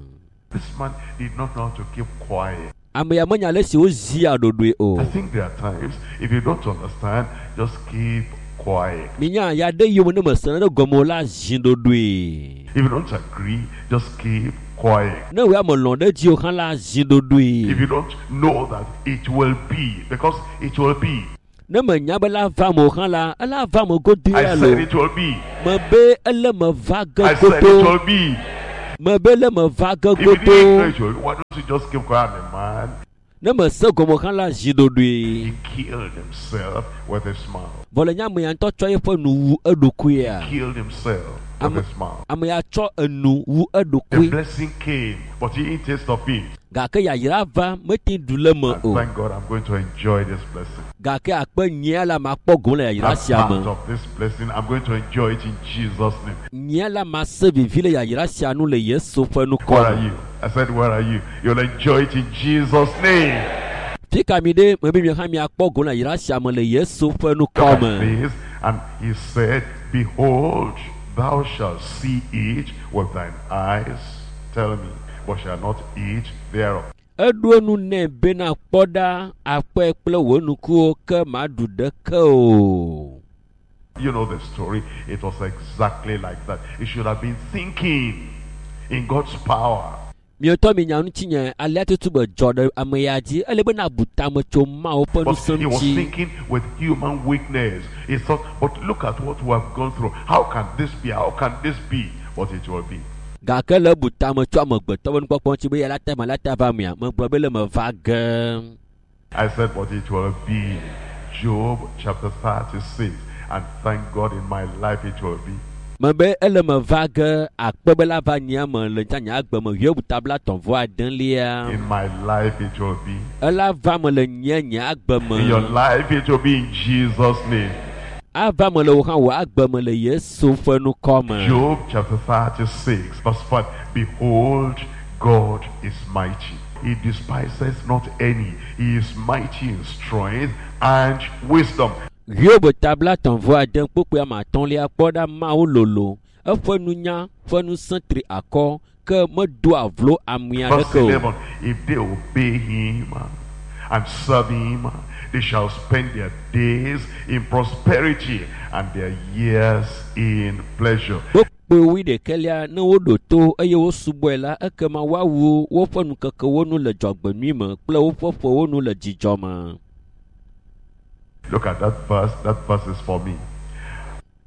[SPEAKER 4] This man did not know how to keep quiet.
[SPEAKER 3] Ame ya menya ale si wozia ɖoɖoe o.
[SPEAKER 4] I think there are times, if you don't understand, just keep quiet.
[SPEAKER 3] Minya ya ɖe yiwo ne mese ne ɖe gɔme o la zi ɖoɖoe.
[SPEAKER 4] If you don't agree, just keep quiet.
[SPEAKER 3] Ne wò ya melɔ̃ ɖe edzi o hã la zi ɖoɖoe.
[SPEAKER 4] If you don't know that it will be, because it will be.
[SPEAKER 3] Ne menya be la va me o hã la, ela va me godui
[SPEAKER 4] I
[SPEAKER 3] ya
[SPEAKER 4] said
[SPEAKER 3] lo.
[SPEAKER 4] it will be.
[SPEAKER 3] Mebe ele me va ge
[SPEAKER 4] I said it
[SPEAKER 3] godo.
[SPEAKER 4] will be.
[SPEAKER 3] Mebe ele me va ge
[SPEAKER 4] If you didn't know
[SPEAKER 3] godo.
[SPEAKER 4] it will be, why don't you just keep quiet, man?
[SPEAKER 3] Ne mese gɔme hã la zi ɖoɖoe.
[SPEAKER 4] He killed himself with his mouth.
[SPEAKER 3] Vɔ le nye ame ya ŋutɔ tsɔ eƒe nu wu eɖokuia.
[SPEAKER 4] Killed himself with
[SPEAKER 3] Am-
[SPEAKER 4] his mouth.
[SPEAKER 3] Ame ya tsɔ enu wu
[SPEAKER 4] The
[SPEAKER 3] eɖokui.
[SPEAKER 4] blessing came, but he didn't taste of it.
[SPEAKER 3] Gake yayra va mete ɖu le me
[SPEAKER 4] And
[SPEAKER 3] o.
[SPEAKER 4] thank God I'm going to enjoy this blessing.
[SPEAKER 3] Gake akpe nyia la makpɔ gome le yayra
[SPEAKER 4] That
[SPEAKER 3] sia
[SPEAKER 4] part
[SPEAKER 3] me.
[SPEAKER 4] of this blessing, I'm going to enjoy it in Jesus' name.
[SPEAKER 3] Nyia la mase vivi le yayra sia nu le Yesu ƒe
[SPEAKER 4] Where
[SPEAKER 3] nukɔ
[SPEAKER 4] are
[SPEAKER 3] me.
[SPEAKER 4] you? I said, where are you? You'll enjoy it in Jesus' name.
[SPEAKER 3] Fi ka mi ɖe mebe mi hã miakpɔ gome le yayra sia me le Yesu ƒe
[SPEAKER 4] Look
[SPEAKER 3] nukɔ
[SPEAKER 4] at
[SPEAKER 3] me.
[SPEAKER 4] this. And he said, Behold, thou shalt see it with thine eyes. Tell me, but shall not eat thereof.
[SPEAKER 3] Eɖo enu nɛ bena kpɔ ɖa akpɔe kple wò nukuwo ke maɖu ɖeke o.
[SPEAKER 4] You know the story. It was exactly like that. He should have been thinking in God's power.
[SPEAKER 3] Mietɔ mi nya ŋutinye alea tutu be dzɔ ɖe ame ya dzi ele be nabu tame tso Mawu ƒe
[SPEAKER 4] But
[SPEAKER 3] ŋusẽ
[SPEAKER 4] he was
[SPEAKER 3] ŋuti.
[SPEAKER 4] thinking with human weakness. He thought, but look at what we have gone through. How can this be? How can this be? But it will be.
[SPEAKER 3] Gake le ebu tame tso amegbetɔ ƒe nukpɔkpɔ ŋuti be ya la te ma la te va mea megblɔ be le me va ge.
[SPEAKER 4] I said, but it will be. Job chapter 36. And thank God in my life it will be.
[SPEAKER 3] Mebe ele me va ge akpe be la va nyia me le ŋuti nye agbe me Hiob tabla tɔ̃ vɔ adelia.
[SPEAKER 4] In my life it will be.
[SPEAKER 3] Ela va me le nye nye agbe
[SPEAKER 4] In your
[SPEAKER 3] me.
[SPEAKER 4] life it will be in Jesus' name.
[SPEAKER 3] Ava me le wò hã wò agbe me le Yesu ƒe nukɔ me.
[SPEAKER 4] Job chapter 36, verse 5. Behold, God is mighty. He despises not any. He is mighty in strength and wisdom.
[SPEAKER 3] Hiob tabla tɔ̃ vɔ ade kpukpui ame atɔ̃lia kpɔ ɖa Mawu lolo. Eƒe nunya ƒe ŋusẽ tri akɔ ke medoa vlo amea
[SPEAKER 4] Verse
[SPEAKER 3] ɖeke o.
[SPEAKER 4] 11. If they obey him and serve him, they shall spend their days in prosperity and their years in pleasure.
[SPEAKER 3] Kpukpui wuiɖekɛlia ne woɖo to eye wosubɔe la ekema woawu woƒe nukekewo nu le dzɔgbenyui me kple woƒe ƒewo nu le dzidzɔ me.
[SPEAKER 4] Look at that verse. That verse is for me.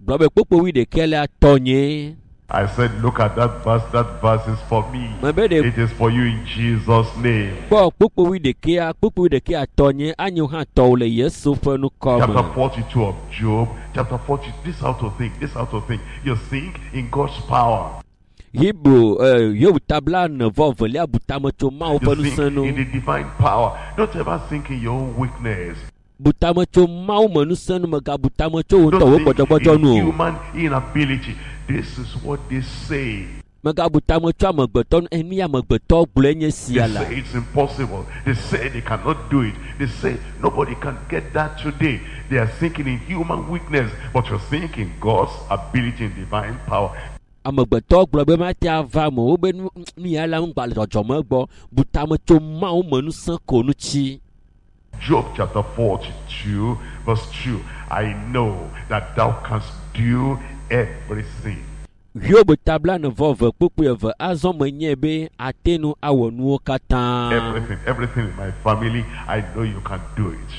[SPEAKER 3] Gblɔ be kpukpui wuiɖekɛlia tɔnyee.
[SPEAKER 4] I said, look at that verse. That verse is for me.
[SPEAKER 3] Mebe ɖe
[SPEAKER 4] It is for you in Jesus' name.
[SPEAKER 3] kpɔ kpukpui wuiɖekɛa kpukpui wuiɖekɛa tɔnyee anyo hã tɔwò le Yesu ƒe nukɔ
[SPEAKER 4] Chapter
[SPEAKER 3] me.
[SPEAKER 4] 42 of Job. Chapter 40. This how to think. This how to think. You think in God's power.
[SPEAKER 3] Hebrew Hiob tabla ene vɔ evelia bu tame tso Mawu
[SPEAKER 4] You
[SPEAKER 3] ƒe
[SPEAKER 4] think
[SPEAKER 3] ŋusẽ nu.
[SPEAKER 4] in the divine power. Don't ever think in your own weakness.
[SPEAKER 3] Bu tame tso Mawu me ŋusẽ nu megabu tame tso wò ŋutɔ wò
[SPEAKER 4] Don't think
[SPEAKER 3] gbɔdzɔgbɔdzɔ
[SPEAKER 4] in
[SPEAKER 3] nu o.
[SPEAKER 4] human inability. This is what they say.
[SPEAKER 3] Megabu tame tso amegbetɔ nu enu ya amegbetɔ gblɔe nye
[SPEAKER 4] They
[SPEAKER 3] sia la.
[SPEAKER 4] say it's impossible. They say they cannot do it. They say nobody can get that today. They are thinking in human weakness, but you're thinking God's ability and divine power.
[SPEAKER 3] Amegbetɔ gblɔ be mate ava me o wobe nu nu ya la ŋgba le dzɔdzɔme gbɔ. Bu tame tso Mawu me ŋusẽ ko ŋuti.
[SPEAKER 4] Job chapter 42, verse 2. I know that thou canst do everything.
[SPEAKER 3] Hiob tabla ene vɔ eve kpukpui eve azɔ menyae be ate nu awɔ nuwo katã.
[SPEAKER 4] Everything, everything in my family, I know you can do it.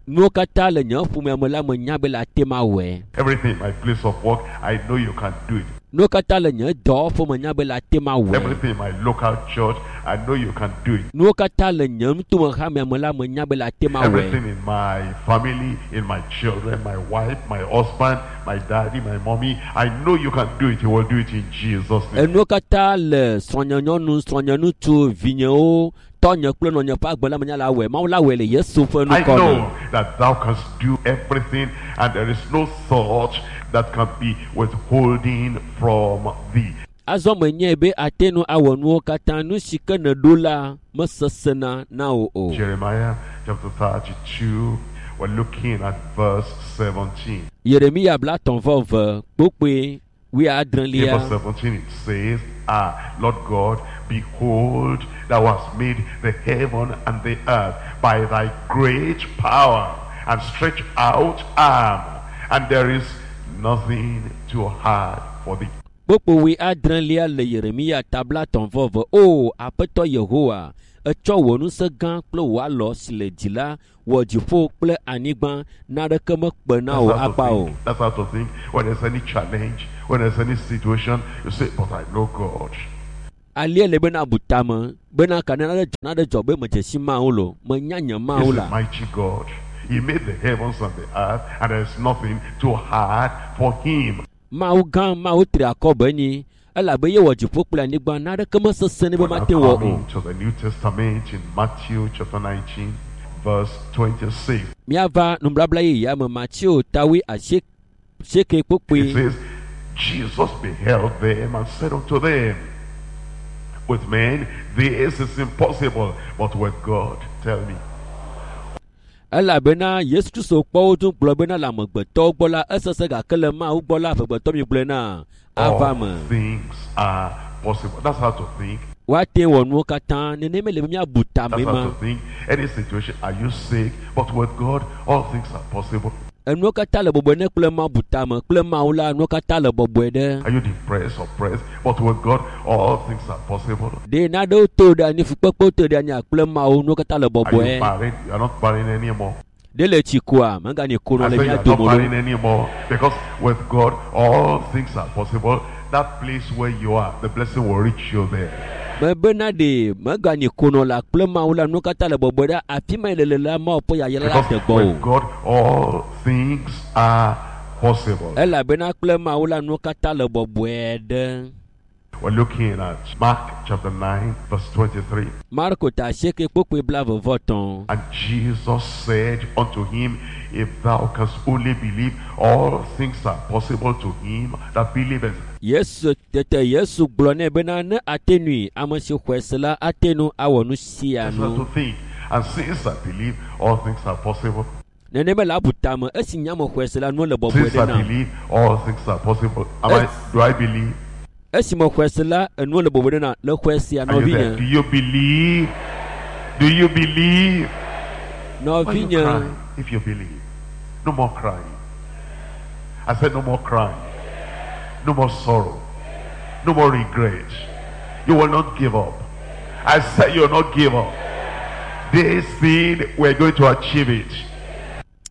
[SPEAKER 3] Nuwo katã le nye ƒomea me la menya be le ate ma wɔe.
[SPEAKER 4] Everything in my place of work, I know you can do it.
[SPEAKER 3] Nuwo katã le nye dɔwɔƒe menya be le ate ma wɔe.
[SPEAKER 4] Everything in my local church, I know you can do it.
[SPEAKER 3] Nuwo katã le nye nutome hamea me la menya be le ate ma wɔe.
[SPEAKER 4] Everything in my family, in my children, my wife, my husband, my daddy, my mommy, I know you can do it. You will do it in Jesus' name.
[SPEAKER 3] Enuwo katã le srɔ̃nyenyɔnu, srɔ̃nyeŋutsu, vinyewo, tɔnye kple nɔnye ƒe agbe la menya la wɔe. Mawu la wɔe le Yesu ƒe
[SPEAKER 4] I
[SPEAKER 3] nukɔ me.
[SPEAKER 4] know that thou canst do everything, and there is no thought that can be withholding from thee.
[SPEAKER 3] Azɔ menyae be ate nu awɔ nuwo katã. Nu si ke nèɖo la mesesẽna na wò o.
[SPEAKER 4] Jeremiah chapter 32, we're looking at verse 17.
[SPEAKER 3] Yeremia bla tɔ̃ vɔ eve kpukpui
[SPEAKER 4] In verse
[SPEAKER 3] wuiadrelia.
[SPEAKER 4] 17 it says, Ah, Lord God, behold, thou hast made the heaven and the earth by thy great power and stretched out arm, and there is nothing too hard for thee.
[SPEAKER 3] Kpukpui wuiadrelia le Yeremia tabla tɔ̃ vɔ eve. O Aƒetɔ Yehowa, Etsɔ wò ŋusẽ gã kple wò alɔ si le dzi la wɔ dziƒo kple anyigba naneke mekpe na wò
[SPEAKER 4] That's how
[SPEAKER 3] akpa
[SPEAKER 4] to
[SPEAKER 3] o.
[SPEAKER 4] think. That's how to think. When there's any challenge, when there's any situation, you say, but I know God.
[SPEAKER 3] Alia le bena bu tame bena ka ne nane dzɔ nane dzɔ be medze si Mawu lo menya nye Mawu
[SPEAKER 4] He's a
[SPEAKER 3] la.
[SPEAKER 4] mighty God. He made the heavens and the earth, and there's nothing too hard for him.
[SPEAKER 3] Mawu gã Mawu tri akɔ be nyi elabe ye wɔ dziƒo kple anyigba naneke mesesẽ nɛ be
[SPEAKER 4] We're now
[SPEAKER 3] mate wɔ o.
[SPEAKER 4] coming to the New Testament in Matthew chapter 19, verse 26.
[SPEAKER 3] Míava nublabla yeyea me Mateo tawi asieke
[SPEAKER 4] It
[SPEAKER 3] kpokpoe.
[SPEAKER 4] says, Jesus beheld them and said unto them, With men this is impossible, but with God, tell me.
[SPEAKER 3] Elabena Yesu Kristo kpɔ wo dũ gblɔ bena le amegbetɔwo gbɔ la esesẽ gake le Mawu gbɔ la amegbetɔ mi gblɔe na ava
[SPEAKER 4] All
[SPEAKER 3] me.
[SPEAKER 4] things are possible. That's how to think.
[SPEAKER 3] Woate wɔ nuwo katã nenema le be míabu tame
[SPEAKER 4] That's how
[SPEAKER 3] ma.
[SPEAKER 4] to think. Any situation, are you sick? But with God, all things are possible.
[SPEAKER 3] Enuwo katã le bɔbɔe ne kple Mawu bu tame kple Mawu la nuwo katã le bɔbɔe ɖe.
[SPEAKER 4] Are you depressed, oppressed? But with God, all things are possible.
[SPEAKER 3] Ɖe nanewo to ɖe anyi fukpekpewo to ɖe anyi kple Mawu nuwo katã le
[SPEAKER 4] Are you
[SPEAKER 3] bɔbɔe.
[SPEAKER 4] married? You are not married anymore.
[SPEAKER 3] Ɖe le tsi koa meganyi konɔ
[SPEAKER 4] I
[SPEAKER 3] le
[SPEAKER 4] say you
[SPEAKER 3] mía
[SPEAKER 4] are not
[SPEAKER 3] dome o.
[SPEAKER 4] married anymore because with God, all things are possible. That place where you are, the blessing will reach you there.
[SPEAKER 3] Mebena ɖe meganyi konɔ la kple Mawu la nuwo katã le bɔbɔe ɖe afi ma yi le le la Mawu ƒe yayra la
[SPEAKER 4] Because
[SPEAKER 3] de gbɔ o.
[SPEAKER 4] with God, all things are possible.
[SPEAKER 3] Elabena kple Mawu la nuwo katã le bɔbɔe ɖe.
[SPEAKER 4] We're looking at Mark chapter 9, verse 23.
[SPEAKER 3] Marko ta asieke kpokpoe blaeve-vɔ-etɔ̃.
[SPEAKER 4] And Jesus said unto him, If thou canst only believe, all things are possible to him that believeth.
[SPEAKER 3] Yesu tete Yesu gblɔ nɛ bena ne ate nui ame si xɔe se la ate nu awɔ nu sia
[SPEAKER 4] That's how
[SPEAKER 3] nu.
[SPEAKER 4] to think. And since I believe, all things are possible.
[SPEAKER 3] Nenema le abu tame esi nye ame xɔe se la nuwo le bɔbɔe
[SPEAKER 4] Since
[SPEAKER 3] ɖe
[SPEAKER 4] I
[SPEAKER 3] nam.
[SPEAKER 4] believe, all things are possible. Am I,
[SPEAKER 3] Yes.
[SPEAKER 4] do I believe?
[SPEAKER 3] Esi me xɔe se la enuwo le bɔbɔe ɖe nam le xɔe sia
[SPEAKER 4] Are you there?
[SPEAKER 3] nɔvinye.
[SPEAKER 4] Do you believe? Do you believe? Why you
[SPEAKER 3] Nɔvinye
[SPEAKER 4] crying if you believe? No more crying. I said no more crying. No more sorrow. No more regret. You will not give up. I said you will not give up. This thing, we're going to achieve it.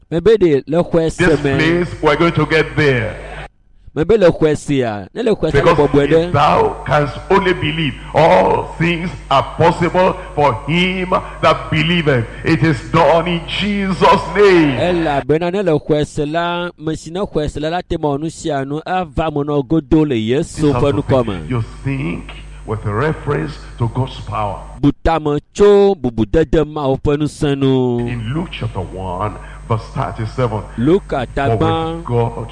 [SPEAKER 3] mebe ɖe le xɔe se
[SPEAKER 4] This
[SPEAKER 3] me
[SPEAKER 4] place, we're going to get there.
[SPEAKER 3] mebe le xɔe sia ne le xɔe se le
[SPEAKER 4] Because
[SPEAKER 3] bɔbɔe
[SPEAKER 4] if
[SPEAKER 3] ɖe.
[SPEAKER 4] thou canst only believe, all things are possible for him that believeth. It is done in Jesus' name.
[SPEAKER 3] Elabena ne le xɔe se la ame si ne xɔe se la la te ma wɔ nu sia nu ava me nɔ godo le
[SPEAKER 4] This
[SPEAKER 3] Yesu
[SPEAKER 4] is how
[SPEAKER 3] ƒe
[SPEAKER 4] to
[SPEAKER 3] nukɔ
[SPEAKER 4] think.
[SPEAKER 3] me.
[SPEAKER 4] You think with reference to God's power.
[SPEAKER 3] Bu tame tso bubudede Mawu ƒe ŋusẽ nu.
[SPEAKER 4] In Luke chapter 1, verse 37,
[SPEAKER 3] Luka
[SPEAKER 4] for
[SPEAKER 3] tagbã
[SPEAKER 4] with God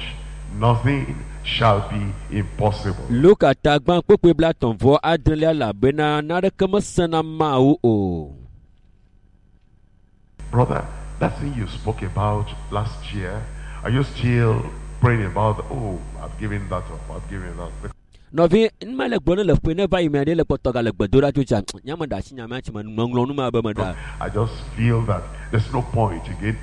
[SPEAKER 4] nothing shall be impossible.
[SPEAKER 3] Luka tagbã kpukpui blaetɔ̃ vɔ adrelia elabena naneke mesẽna Mawu o.
[SPEAKER 4] Brother, that thing you spoke about last year, are you still praying about, oh, I've given that up, I've given that up.
[SPEAKER 3] Nɔvi numa le gblɔ ne le ƒe ne va yi mea ɖe le kpɔtɔ ga le gbedoɖa tso tsa nyame ɖe asi nyamea tsi me meŋlɔ nu ma be meɖa
[SPEAKER 4] I just feel that there's no point again.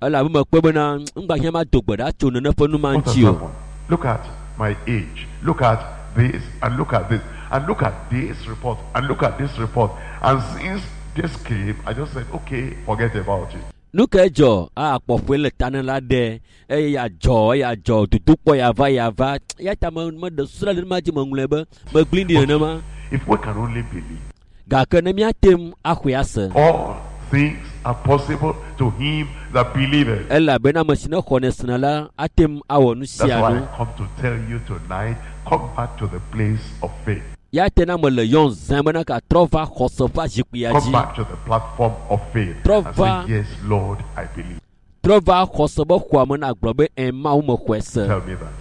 [SPEAKER 3] elabe mekpɔ bena ŋgba hiã ma do gbe ɖa tso nene ƒe nu ma
[SPEAKER 4] What has
[SPEAKER 3] ŋuti o.
[SPEAKER 4] happened? Look at my age. Look at this and look at this and look at this report and look at this report. And since this came, I just said, okay, forget about it.
[SPEAKER 3] Nu ke dzɔ akpɔƒoe le ta ne la ɖe eye ya dzɔ eya dzɔ dodokpɔ ya va ya va ya ta me meɖe susu ɖe le nu ma dzi meŋlɔe be megblẽ ɖi nenema
[SPEAKER 4] If we can only believe,
[SPEAKER 3] gake ne míate ŋu axɔe ase
[SPEAKER 4] all things are possible to him that believeth.
[SPEAKER 3] elabena ame si ne xɔnɛ sena la ate ŋu awɔ nu
[SPEAKER 4] That's
[SPEAKER 3] sia
[SPEAKER 4] why
[SPEAKER 3] nu
[SPEAKER 4] I come to tell you tonight, come back to the place of faith.
[SPEAKER 3] ya te na me le yɔn zã bena katrɔ va xɔse ƒe zikpuia
[SPEAKER 4] Come
[SPEAKER 3] dzi
[SPEAKER 4] back to the platform of faith and
[SPEAKER 3] Trova.
[SPEAKER 4] say, yes, Lord, I believe.
[SPEAKER 3] trɔ va xɔse be xɔa me na gblɔ be ɛ Mawu me xɔe se
[SPEAKER 4] Tell me that.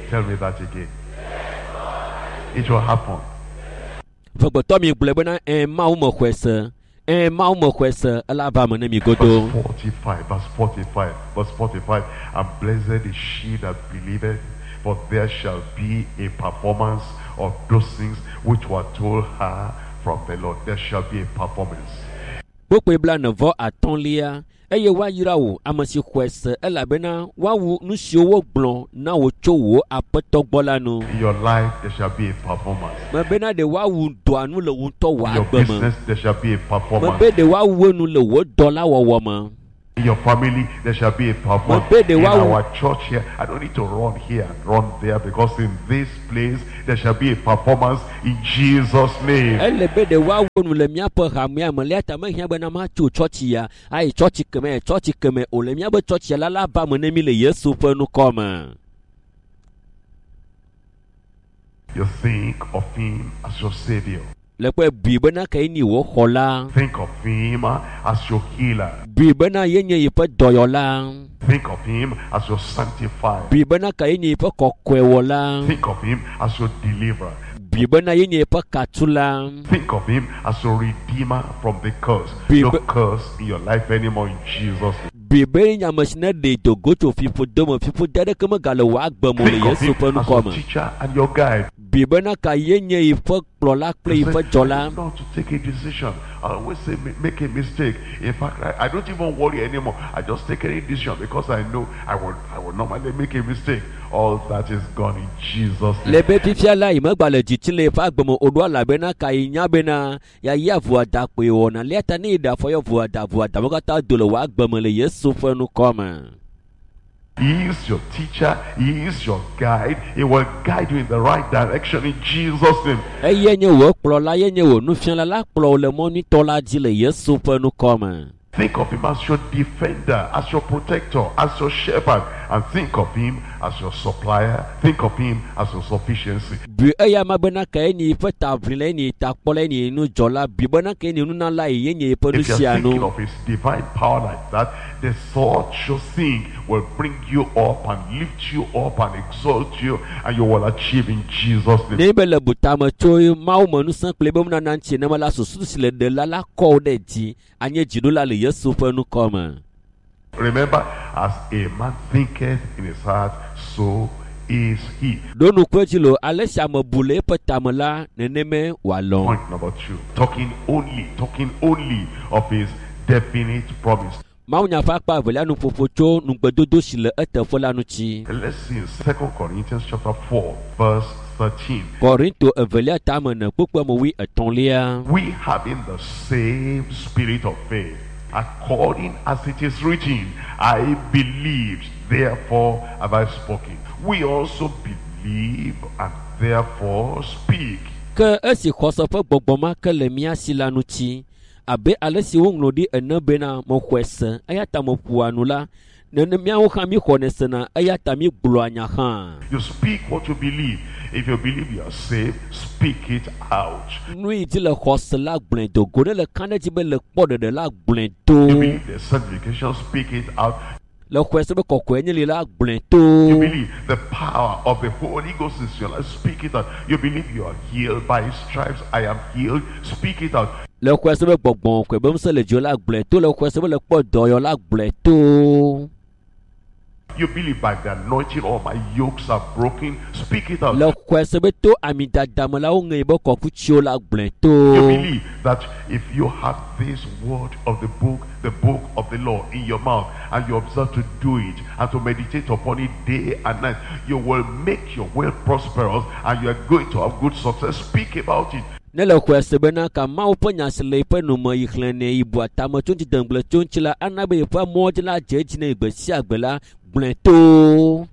[SPEAKER 4] Tell me that again. It will happen.
[SPEAKER 3] ƒegbetɔ mi gblɔe bena ɛ Mawu me xɔe se ɛ Mawu me xɔe se ela va me ne mi godo.
[SPEAKER 4] Verse 45, verse 45, verse 45. And blessed is she that believeth, for there shall be a performance of those things which were told her from the Lord. There shall be a performance.
[SPEAKER 3] Kpukpui blaene vɔ atɔ̃lia Eye woayra wò ame si xɔe se elabena woawu nu siwo wogblɔ na wò tso wò aƒetɔ gbɔ la nu.
[SPEAKER 4] In your life, there shall be a performance.
[SPEAKER 3] Mebena ɖe woawu dɔa nu le wò ŋutɔ wò
[SPEAKER 4] In your
[SPEAKER 3] agbe me.
[SPEAKER 4] business, there shall be a performance.
[SPEAKER 3] Mebe ɖe woawu enu le wò dɔlawɔwɔ me.
[SPEAKER 4] In your family, there shall be a performance.
[SPEAKER 3] Mebe
[SPEAKER 4] In
[SPEAKER 3] ɖe woawu
[SPEAKER 4] our church here, I don't need to run here and run there because in this place, there shall be a performance in Jesus' name.
[SPEAKER 3] Ele be ɖe woawu nu le míaƒe hamea me le ta mehiã bena matso tsɔtsi ya ayi tsɔtsi keme ayi tsɔtsi keme o le míaƒe tsɔtsi ya la la va me ne mi le Yesu ƒe ŋkɔ me.
[SPEAKER 4] You think of him as your savior.
[SPEAKER 3] Le kpɔe bui bena ke nyi wò xɔla.
[SPEAKER 4] Think of him as your healer.
[SPEAKER 3] Bui bena yenye yiƒe dɔyɔla.
[SPEAKER 4] Think of him as your sanctifier.
[SPEAKER 3] Bui bena ke yenye yiƒe kɔkɔewɔla.
[SPEAKER 4] Think of him as your deliverer.
[SPEAKER 3] Bui bena yenye yiƒe katula.
[SPEAKER 4] Think of him as your redeemer from the curse.
[SPEAKER 3] Be-
[SPEAKER 4] No curse in your life anymore in Jesus' name.
[SPEAKER 3] Bui be yenye ame si ne ɖe dogo tso fiƒode me fiƒode aɖeke megale wò agbe me o le
[SPEAKER 4] Think of
[SPEAKER 3] Yesu
[SPEAKER 4] him
[SPEAKER 3] ƒe
[SPEAKER 4] as
[SPEAKER 3] ŋkɔ
[SPEAKER 4] your
[SPEAKER 3] me.
[SPEAKER 4] teacher and your guide.
[SPEAKER 3] Bui bena ka yenye yiƒe kplɔla kple
[SPEAKER 4] You say,
[SPEAKER 3] yiƒe dzɔla.
[SPEAKER 4] I don't know to take a decision. I always say make a mistake. In fact, I don't even worry anymore. I just take any decision because I know I will normally make a mistake. All that is gone in Jesus'
[SPEAKER 3] Le
[SPEAKER 4] name.
[SPEAKER 3] be fifia la yi megba le dzitsi le eƒe agbe me o ɖo elabena ka yi nya bena yeayi avoada kpoe wɔna lia ta ne yi ɖe afɔ yɔ voada voada wo katã do le wò agbe me le Yesu ƒe ŋkɔ me.
[SPEAKER 4] He is your teacher. He is your guide. He will guide you in the right direction in Jesus' name.
[SPEAKER 3] Eye nye wò kplɔla ye nye wò nufiala la kplɔ wò le mɔ nyuitɔ la dzi le Yesu ƒe ŋkɔ me.
[SPEAKER 4] Think of him as your defender, as your protector, as your shepherd, and think of him as your supplier. Think of him as your sufficiency.
[SPEAKER 3] Bui eya ma bena ka ye nye yiƒe taʋlila ye nye takpɔla ye nye nudzɔla bui bena ka ye nye nunala ye nye yiƒe
[SPEAKER 4] If you're thinking
[SPEAKER 3] nusianu.
[SPEAKER 4] of his divine power like that, the thought you think will bring you up and lift you up and exalt you, and you will achieve in Jesus' name.
[SPEAKER 3] Ne be le butame tso Mawu me ŋusẽ kple ebe nunana ŋuti nenema la susu si le ɖela la kɔ wò ɖe dzi anye dziɖula le Yesu ƒe ŋkɔ me.
[SPEAKER 4] Remember, as a man thinketh in his heart, so is he.
[SPEAKER 3] Ɖo ŋku edzi lo ale si ame bu le eƒe tame la nenemae wòalɔ̃.
[SPEAKER 4] Point number 2. Talking only of his definite promise.
[SPEAKER 3] Mawunya ƒe akpa evelia nuƒoƒo tso nugbedodo si le eteƒe la ŋuti.
[SPEAKER 4] Let's see in 2 Corinthians chapter 4, verse 13.
[SPEAKER 3] Korinto evelia tame ene kpukpui ame wuietɔ̃lia.
[SPEAKER 4] We having the same spirit of faith, according as it is written, I believed, therefore have I spoken. We also believe and therefore speak.
[SPEAKER 3] Ke esi xɔse ƒe gbɔgbɔ ma ke le mía si la ŋuti, abe ale si woŋlɔ ɖi ene bena mexɔe se eya ta meƒoa nu la, nene míawo hã míxɔnɛ sena eya ta mígblɔa nya hã.
[SPEAKER 4] You speak what you believe. If you believe you are saved, speak it out.
[SPEAKER 3] Nu yi dzi le xɔse la gblɔe do go ne le ka ɖe dzi be le kpɔ ɖeɖe la gblɔe do.
[SPEAKER 4] You believe the sanctification, speak it out.
[SPEAKER 3] Le xɔe se be kɔkɔe nye li la gblɔe do.
[SPEAKER 4] You believe the power of the Holy Ghost is your life, speak it out. You believe you are healed by his stripes, I am healed, speak it out.
[SPEAKER 3] Le xɔe se be gbɔgbɔ kɔe be ŋusẽ le dziwò la gblɔe to. Le xɔe se be le kpɔ dɔyɔ la gblɔe to.
[SPEAKER 4] You believe by the anointing all my yokes are broken, speak it out.
[SPEAKER 3] Le xɔe se be to amidadame la woŋe be kɔkutsiwo la gblɔe to.
[SPEAKER 4] You believe that if you have this word of the book of the law in your mouth, and you observe to do it and to meditate upon it day and night, you will make your way prosperous and you are going to have good success. Speak about it.
[SPEAKER 3] Ne le xɔe se bena ka Mawu ƒe nya si le yiƒe nume yi xlẽnɛ yi bua tame tso ŋuti dengble tso ŋuti la ana be yiƒe mɔ dzi la dze edzi ne gbe sia gbe la gblɔe to.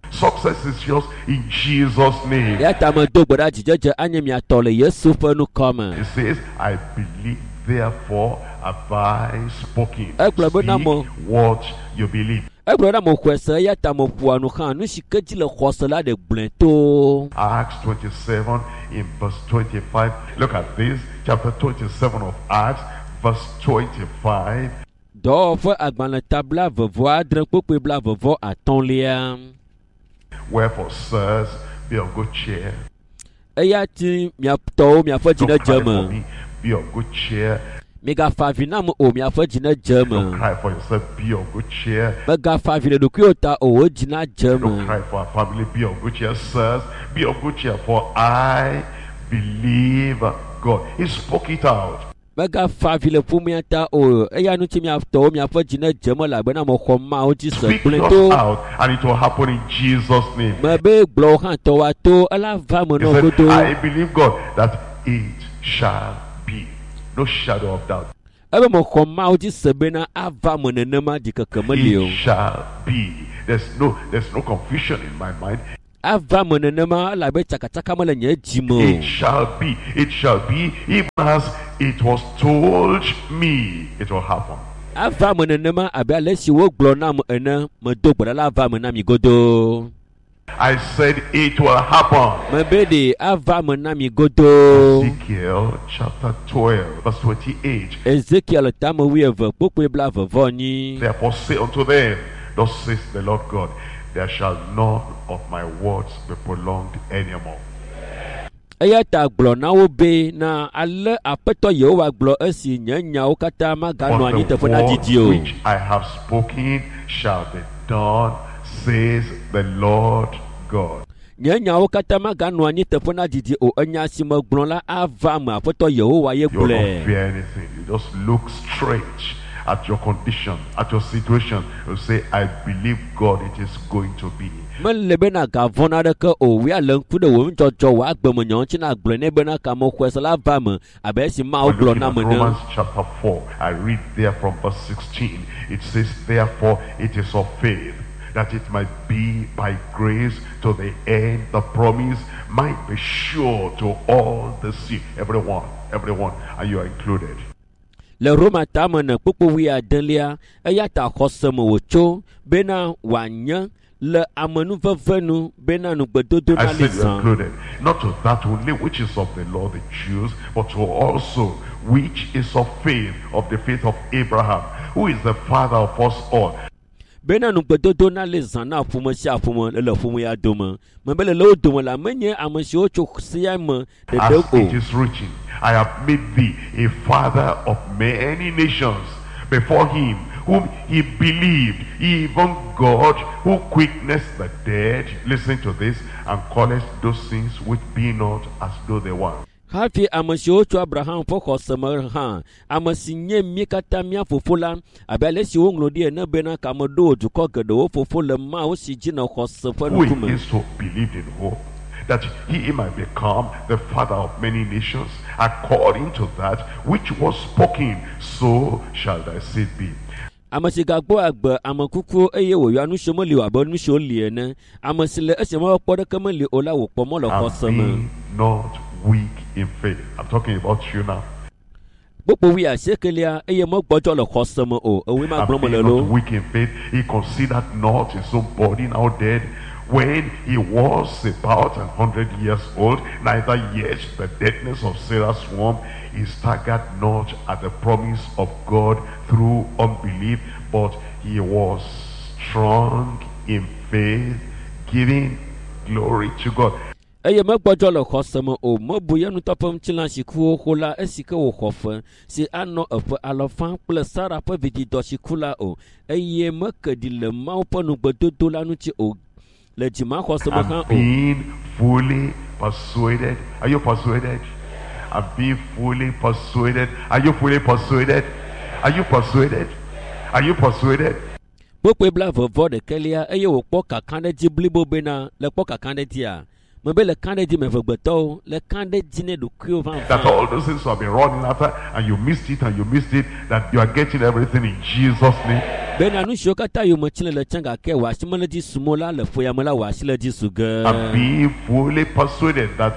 [SPEAKER 4] Success is yours in Jesus' name.
[SPEAKER 3] Eya ta medo gbe ɖa dzidzedze anye mia tɔ le Yesu ƒe ŋkɔ me.
[SPEAKER 4] It says, I believe, therefore have I spoken.
[SPEAKER 3] Egblɔ bena
[SPEAKER 4] Speak what you believe.
[SPEAKER 3] Egblɔ bena mexɔe se eya ta meƒoa nu hã nu si ke dzi le xɔse la ɖe gblɔe to.
[SPEAKER 4] Acts 27 in verse 25. Look at this, chapter 27 of Acts, verse 25.
[SPEAKER 3] Dɔwɔƒe agbalẽ ta 26 kpukpui 25.
[SPEAKER 4] Wherefore, sirs, be of good cheer.
[SPEAKER 3] Eya ti miatɔwo miaƒe dzi
[SPEAKER 4] Don't
[SPEAKER 3] ne dze
[SPEAKER 4] cry for
[SPEAKER 3] me.
[SPEAKER 4] me. Be of good cheer.
[SPEAKER 3] Migafa avi nam o miaƒe dzi ne dze
[SPEAKER 4] Don't
[SPEAKER 3] me.
[SPEAKER 4] cry for yourself. Be of good cheer.
[SPEAKER 3] Megafa avi le ɖokuiwò ta o wò dzi na dze
[SPEAKER 4] Don't
[SPEAKER 3] me.
[SPEAKER 4] cry for our family. Be of good cheer, sirs. Be of good cheer, for I believe God. He spoke it out.
[SPEAKER 3] Megafa avi le ƒomea ta o eya ŋuti miatɔwo miaƒe dzi ne dze me elabena mexɔ Mawu dzi se
[SPEAKER 4] Speak
[SPEAKER 3] gblɔe
[SPEAKER 4] yours
[SPEAKER 3] to.
[SPEAKER 4] out, and it will happen in Jesus' name.
[SPEAKER 3] Mebe gblɔ wo hã tɔwoa to ela va me
[SPEAKER 4] He
[SPEAKER 3] nɔ
[SPEAKER 4] said,
[SPEAKER 3] godo.
[SPEAKER 4] I believe God that it shall be. No shadow of doubt.
[SPEAKER 3] Ebe mexɔ Mawu dzi se bena ava me nenema ɖikeke meli o.
[SPEAKER 4] It shall be. There's no confusion in my mind.
[SPEAKER 3] Ava me nenema elabe tsakatsaka mele nye dzi me
[SPEAKER 4] It
[SPEAKER 3] o.
[SPEAKER 4] shall be. It shall be even as it was told me it will happen.
[SPEAKER 3] Ava me nenema abe ale si wogblɔ nam ene medo gbe ɖa la ava me na mi godoo.
[SPEAKER 4] I said it will happen.
[SPEAKER 3] Mebe ɖe ava me na mi godoo.
[SPEAKER 4] Ezekiel chapter 12, verse 28.
[SPEAKER 3] Ezekiel tame wuieve kpokpoe blaeve vɔ enyi.
[SPEAKER 4] Therefore say unto them, Thus says the Lord God, there shall none of my words be prolonged anymore.
[SPEAKER 3] Eya ta gblɔ na wo be na ale aƒetɔ Yehowa gblɔ esi nye nyawo katã maganɔ
[SPEAKER 4] But
[SPEAKER 3] anyi
[SPEAKER 4] the
[SPEAKER 3] teƒe na
[SPEAKER 4] word
[SPEAKER 3] didi o.
[SPEAKER 4] which I have spoken shall be done, says the Lord God.
[SPEAKER 3] Nye nyawo katã maganɔ anyi teƒe na didi o. Enya si megblɔ la ava me aƒetɔ Yehowa ye
[SPEAKER 4] You will not
[SPEAKER 3] gblɔe.
[SPEAKER 4] fear anything. You just look straight at your condition, at your situation. You say, I believe God, it is going to be.
[SPEAKER 3] Mele bena gavɔ naɖeke o. Wia le ŋku ɖe wò nudzɔdzɔ wò agbemenyawo ŋuti na gblɔe nɛ bena kamexɔe se la va me abe esi Mawu
[SPEAKER 4] We're
[SPEAKER 3] gblɔ
[SPEAKER 4] looking
[SPEAKER 3] nam
[SPEAKER 4] at
[SPEAKER 3] ene.
[SPEAKER 4] Romans chapter 4. I read there from verse 16. It says, Therefore it is of faith that it might be by grace to the end the promise might be sure to all the seed. Everyone, everyone, and you are included.
[SPEAKER 3] Le Roma tame ne kpukpu wuiadelia eya ta xɔse me wòtso bena wòanye le amenuveve nu bena nugbedodo
[SPEAKER 4] I
[SPEAKER 3] nali
[SPEAKER 4] said you are
[SPEAKER 3] zã.
[SPEAKER 4] included. Not to that only which is of the law, the Jews, but to also which is of faith, of the faith of Abraham, who is the father of us all.
[SPEAKER 3] Bena nugbedodo nali zã na ƒome sia ƒome le le ƒome ya dome. Mebe le le wo dome la menye ame siwo tso sia me ɖeɖe
[SPEAKER 4] As
[SPEAKER 3] o.
[SPEAKER 4] it is written, I have made thee a father of many nations before him whom he believed, even God who quickeneth the dead. Listen to this, and calleth those things which be not as though they were.
[SPEAKER 3] Hafi ame siwo tso Abraham ƒe xɔse me hã, ame si nye mí katã mía fofo la, abe ale si woŋlɔ ɖi ene bena kameɖo wò dukɔ geɖewo fofo le Mawu si dzi nɔ xɔse ƒe
[SPEAKER 4] Who
[SPEAKER 3] ŋkume.
[SPEAKER 4] is to believe in hope that he might become the father of many nations, according to that which was spoken, so shall thy seed be.
[SPEAKER 3] Ame si gagbɔ agbe ame kukuwo eye wòyɔa nu siwo meli o abe nu siwo li ene. Ame si le esi mewɔkpɔ ɖeke meli o la wòkpɔ mɔ le
[SPEAKER 4] And
[SPEAKER 3] xɔse me.
[SPEAKER 4] be not weak in faith. I'm talking about you now.
[SPEAKER 3] Kpukpu wuiasiekelia eye megbɔdzɔ le xɔse me o. Ewoe ma
[SPEAKER 4] And
[SPEAKER 3] gblɔm
[SPEAKER 4] being
[SPEAKER 3] mele
[SPEAKER 4] not
[SPEAKER 3] loo.
[SPEAKER 4] weak in faith, he considered not his own body now dead when he was about 100 years old, neither yet the deadness of Sarah's womb. He staggered not at the promise of God through unbelief, but he was strong in faith, giving glory to God.
[SPEAKER 3] Eye megbɔdzɔ le xɔse me o. Mebu ye ŋutɔ ƒe ŋutilã si ku xoxo la esi ke wòxɔ fe si anɔ eƒe alɔfa kple Sara ƒe vidzidɔ si ku la o. Eye meke ɖi le Mawu ƒe nugbedodo la ŋuti o le dzimaxɔse me hã
[SPEAKER 4] And
[SPEAKER 3] o.
[SPEAKER 4] being fully persuaded. Are you persuaded? And being fully persuaded. Are you fully persuaded? Are you persuaded? Are you persuaded?
[SPEAKER 3] Kpukpui blaeve vɔ ɖekɛlia eye wòkpɔ kakaɖedzi blibo bena le kpɔ kakaɖedzia mebe le kaɖedzi me vegbetɔwo le kaɖedzi ne ɖokuiwo
[SPEAKER 4] That
[SPEAKER 3] vavã.
[SPEAKER 4] all those things you have been running after and you missed it and you missed it, that you are getting everything in Jesus' name.
[SPEAKER 3] Bena nu siwo katã yome tsi le le tsã gake wò asi mele dzi sum o la le ƒoya me la wò asi le dzi su ge.
[SPEAKER 4] And being fully persuaded that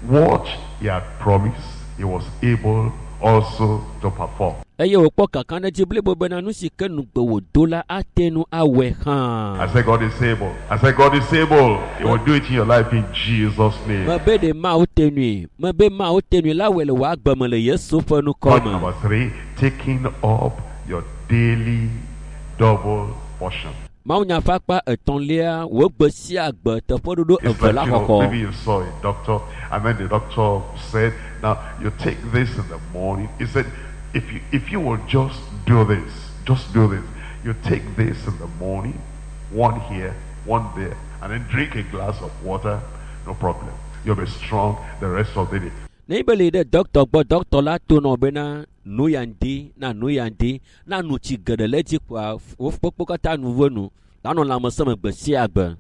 [SPEAKER 4] what he had promised, he was able also to perform.
[SPEAKER 3] Eye wòkpɔ kakaɖedzi blibo bena nu si ke nugbe wòdo la ate ŋu awɔe hã.
[SPEAKER 4] I said God is able. I said God is able. He will do it in your life in Jesus' name.
[SPEAKER 3] Mebe ɖe Mawu te nui, mebe Mawu te nui la wɔe le wò agbe me le Yesu ƒe ŋkɔ
[SPEAKER 4] Point
[SPEAKER 3] me.
[SPEAKER 4] number 3, taking up your daily double portion.
[SPEAKER 3] Mawunya ƒe akpa etɔ̃lia, wò gbe sia gbe teƒeɖoɖo
[SPEAKER 4] It's
[SPEAKER 3] eve
[SPEAKER 4] like,
[SPEAKER 3] la
[SPEAKER 4] you know,
[SPEAKER 3] xɔxɔ.
[SPEAKER 4] maybe you saw a doctor, and then the doctor said, now you take this in the morning. He said, if you will just do this, just do this. You take this in the morning, one here, one there, and then drink a glass of water, no problem. You'll be strong the rest of the day.
[SPEAKER 3] Ne be le yi ɖe dɔkitɔ gbɔ dɔkitɔ la to nɔ bena nu ya ŋdi na nu ya ŋdi na nu tsi geɖe le edzi kpoa wo kpokpo katã nu ve nu la nɔ lãmesẽ me gbe sia gbe.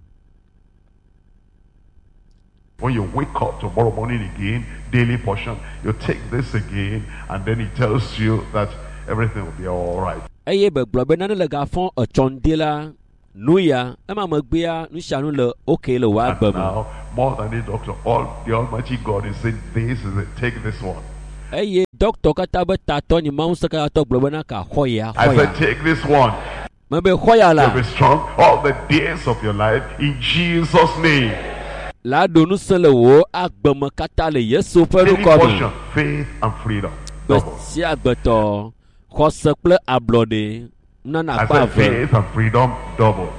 [SPEAKER 4] When you wake up tomorrow morning again, daily portion, you take this again, and then he tells you that everything will be all right.
[SPEAKER 3] Eye be gblɔ be nane le gafɔ etsɔ ŋdi la nu ya ema megbea nu sia nu le okay le wò
[SPEAKER 4] And
[SPEAKER 3] agbe me.
[SPEAKER 4] now, more than the doctor, all the Almighty God is saying, this is it, take this one.
[SPEAKER 3] Eye dɔkitɔ katã be tatɔ nyi Mawu ŋusẽkatãtɔ gblɔ bena ka xɔ ya
[SPEAKER 4] I
[SPEAKER 3] xɔ
[SPEAKER 4] said,
[SPEAKER 3] ya.
[SPEAKER 4] take this one.
[SPEAKER 3] Mebe xɔ ya la
[SPEAKER 4] You'll be strong all the days of your life in Jesus' name.
[SPEAKER 3] la ɖo ŋusẽ le wò agbeme katã le Yesu ƒe
[SPEAKER 4] Daily
[SPEAKER 3] ŋkɔ me.
[SPEAKER 4] portion, faith and freedom.
[SPEAKER 3] Gbe
[SPEAKER 4] Double.
[SPEAKER 3] sia gbetɔ xɔse kple ablɔɖe nunana
[SPEAKER 4] I
[SPEAKER 3] akpa
[SPEAKER 4] said
[SPEAKER 3] eve.
[SPEAKER 4] faith and freedom, double.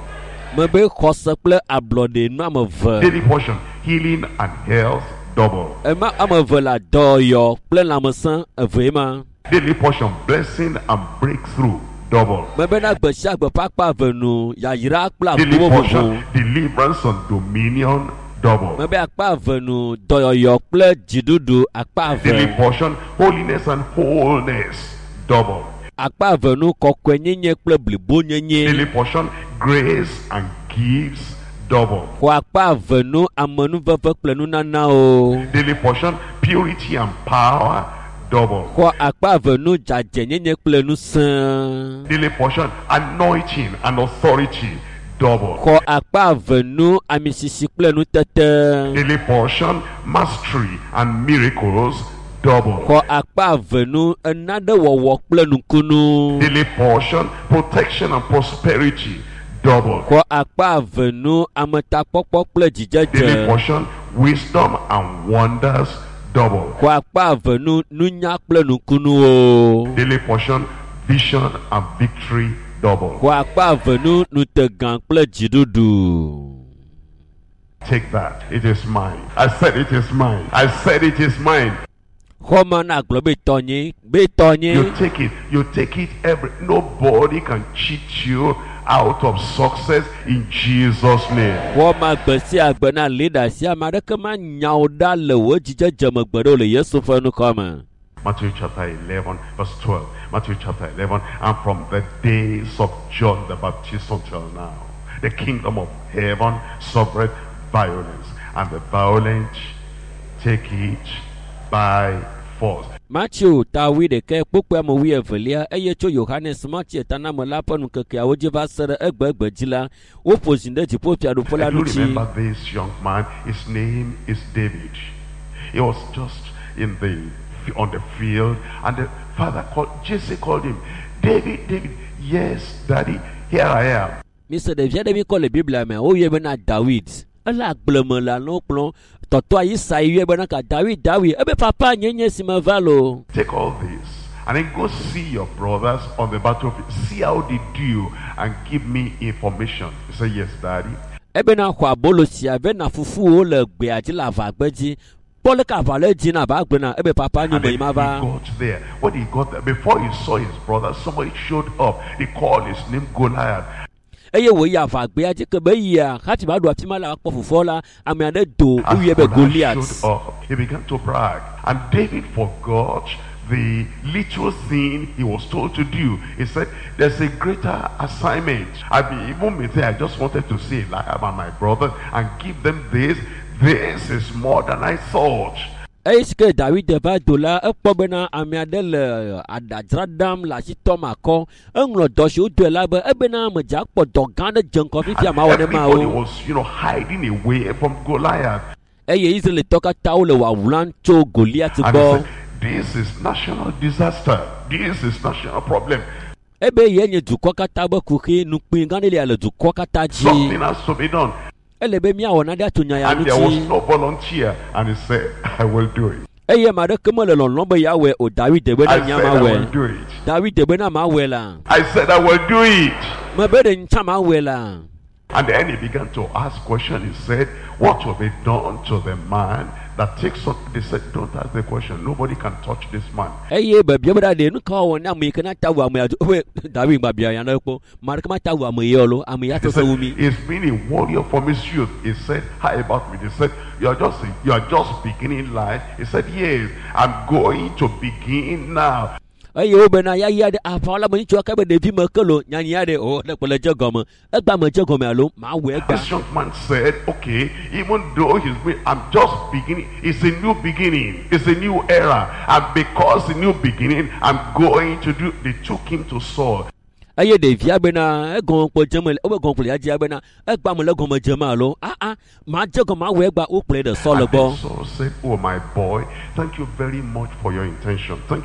[SPEAKER 3] Mebe xɔse kple ablɔɖe nu ame eve.
[SPEAKER 4] Daily portion, healing and health, double.
[SPEAKER 3] Ema ame eve le dɔyɔ kple lãmesẽ evee ma.
[SPEAKER 4] Daily portion, blessing and breakthrough, double.
[SPEAKER 3] Mebe na gbe sia gbe ƒe akpa eve nu yayra kple
[SPEAKER 4] Daily
[SPEAKER 3] agbogbo
[SPEAKER 4] portion,
[SPEAKER 3] vovo.
[SPEAKER 4] deliverance and dominion, double.
[SPEAKER 3] Mebe akpa eve nu dɔyɔyɔ kple dziɖuɖu akpa
[SPEAKER 4] Daily
[SPEAKER 3] eve.
[SPEAKER 4] portion, holiness and wholeness, double.
[SPEAKER 3] Akpa eve nu kɔkɔenyenye kple blibonyenye.
[SPEAKER 4] Daily portion, grace and gifts, double.
[SPEAKER 3] Xɔ akpa eve nu amenuveve kple nunanawo.
[SPEAKER 4] Daily portion, purity and power, double.
[SPEAKER 3] Xɔ akpa eve nu dzadzɛnyenye kple ŋusẽ.
[SPEAKER 4] Daily portion, anointing and authority, double.
[SPEAKER 3] Xɔ akpa eve nu amisisi kple nutete.
[SPEAKER 4] Daily portion, mastery and miracles, double.
[SPEAKER 3] Xɔ akpa eve nu enaɖewɔwɔ kple nukunu.
[SPEAKER 4] Daily portion, protection and prosperity, double.
[SPEAKER 3] Xɔ akpa eve nu ametakpɔkpɔ kple
[SPEAKER 4] Daily
[SPEAKER 3] dzidzedze.
[SPEAKER 4] portion, wisdom and wonders, double.
[SPEAKER 3] Xɔ akpa eve nu nunya kple nukunuwo.
[SPEAKER 4] Daily portion, vision and victory, double.
[SPEAKER 3] Xɔ akpa eve nu nutegã kple dziɖuɖu.
[SPEAKER 4] Take that. It is mine. I said it is mine. I said it is mine.
[SPEAKER 3] Xɔ ma na gblɔ be tɔnye be tɔnye.
[SPEAKER 4] You take it. You take it every. Nobody can cheat you out of success in Jesus' name.
[SPEAKER 3] Xɔ ma gbe sia gbe na leader sia ame aɖeke ma nya wo ɖa le wò dzidzedze me gbe ɖe o le Yesu ƒe ŋkɔ me.
[SPEAKER 4] Matthew chapter 11, verse 12. Matthew chapter 11. And from the days of John the Baptist until now, the kingdom of heaven suffered violence, and the violent take it by force.
[SPEAKER 3] Matthew ta wui ɖekɛ kpukpui ame wui evelia eye tso Yohanes Matthew tanamela ƒe nukekeawo dzi va se ɖe egbegbe dzi la woƒo zi ɖe dziƒofiaɖuƒe la
[SPEAKER 4] I do
[SPEAKER 3] ŋuti.
[SPEAKER 4] remember this young man. His name is David. He was just in the on the field, and the father called Jesse called him, David, David. Yes, Daddy, here I am.
[SPEAKER 3] Mise ɖevi aɖe mi kɔ le Biblia mea woyɔe bena Dawid. Ele agble me le alẽwo kplɔm. Tɔtɔa Isai yɔe bena ka Dawid Dawid ebe papa nye nye si me va loo.
[SPEAKER 4] Take all this and then go see your brothers on the battlefield. See how they do and give me information. He said, Yes, Daddy.
[SPEAKER 3] Ebena xɔ abolo sia ve na fufuwo le gbea dzi le aʋagbe dzi. Kpɔ leke aʋa le dzi na aʋa gbe na ebe papa nyo
[SPEAKER 4] And
[SPEAKER 3] me
[SPEAKER 4] then
[SPEAKER 3] yi
[SPEAKER 4] he
[SPEAKER 3] ma va.
[SPEAKER 4] got there. When he got there, before he saw his brother, somebody showed up. They called his name Goliath.
[SPEAKER 3] Eye wòyi aʋagbea dzi ke be yia hafi va ɖo afi ma le akpɔ fofoa la ame aɖe do
[SPEAKER 4] As
[SPEAKER 3] woyɔe be
[SPEAKER 4] Goliath
[SPEAKER 3] Goliath.
[SPEAKER 4] showed up, he began to brag. And David forgot the little thing he was told to do. He said, there's a greater assignment. I be, even me say, I just wanted to see Eliab and my brother and give them this. This is more than I thought.
[SPEAKER 3] Eye si ke Dawid va do la ekpɔ bena ame aɖe le aɖadzra ɖam le asi tɔm akɔ. Eŋlɔ dɔ si wodoe la be ebena medze akpɔ dɔ gã aɖe dze ŋgɔ fifia
[SPEAKER 4] And
[SPEAKER 3] mawɔ ne
[SPEAKER 4] everybody
[SPEAKER 3] mawo.
[SPEAKER 4] was, you know, hiding away from Goliath.
[SPEAKER 3] Eye Israelitɔ katã wole wawlam tso Goliath
[SPEAKER 4] And he
[SPEAKER 3] gbɔ.
[SPEAKER 4] said, this is national disaster. This is national problem.
[SPEAKER 3] Ebe ye nye dukɔ katã be kuxi nukpui gã ɖe lia le dukɔ katã dzi.
[SPEAKER 4] Something has to be done.
[SPEAKER 3] Ele be míawɔ nane atso nya ya
[SPEAKER 4] And there was
[SPEAKER 3] ŋuti.
[SPEAKER 4] no volunteer. And he said, I will do it.
[SPEAKER 3] Eye ame aɖeke mele lɔlɔm be yeawɔe o Dawid be
[SPEAKER 4] I
[SPEAKER 3] na nya
[SPEAKER 4] said, I will
[SPEAKER 3] mawɔe.
[SPEAKER 4] do it.
[SPEAKER 3] Dawid be na mawɔe la.
[SPEAKER 4] I said, I will do it.
[SPEAKER 3] Mebe ɖe ŋtsã mawɔe la.
[SPEAKER 4] And then he began to ask questions. He said, what will be done to the man that takes up? They said, don't ask the question. Nobody can touch this man.
[SPEAKER 3] Eye bebia be ɖa ɖe nu ka wɔwɔ ne ame yi ke na ta wu ame ya dzo David gba bia ya ne kpɔ ame aɖeke mata wu ame ya o lo ame ya
[SPEAKER 4] He
[SPEAKER 3] sese
[SPEAKER 4] said,
[SPEAKER 3] wu mi.
[SPEAKER 4] he's been a warrior from his youth. He said, how about me? They said, you are just beginning life. He said, yes, I'm going to begin now.
[SPEAKER 3] Eye wo bena ya ya ɖe aʋawɔla me ŋutsua ke be ɖevi me ke lo nyanya ɖe o ne kpe le dze gɔme egba me dze gɔme alo ma wɔ egba.
[SPEAKER 4] This young man said, okay, even though he's been, I'm just beginning. It's a new beginning. It's a new era. And because a new beginning, I'm going to do. They took him to Saul.
[SPEAKER 3] Eye ɖevia bena egɔme kpɔ dze me wobe gɔme kple ya dzia bena egba me le gɔme dzem alo aa ma dze gɔme awɔ egba wokplɔe ɖe Saul
[SPEAKER 4] And
[SPEAKER 3] gbɔ.
[SPEAKER 4] then Saul said, oh my boy, thank you very much for your intention. Thank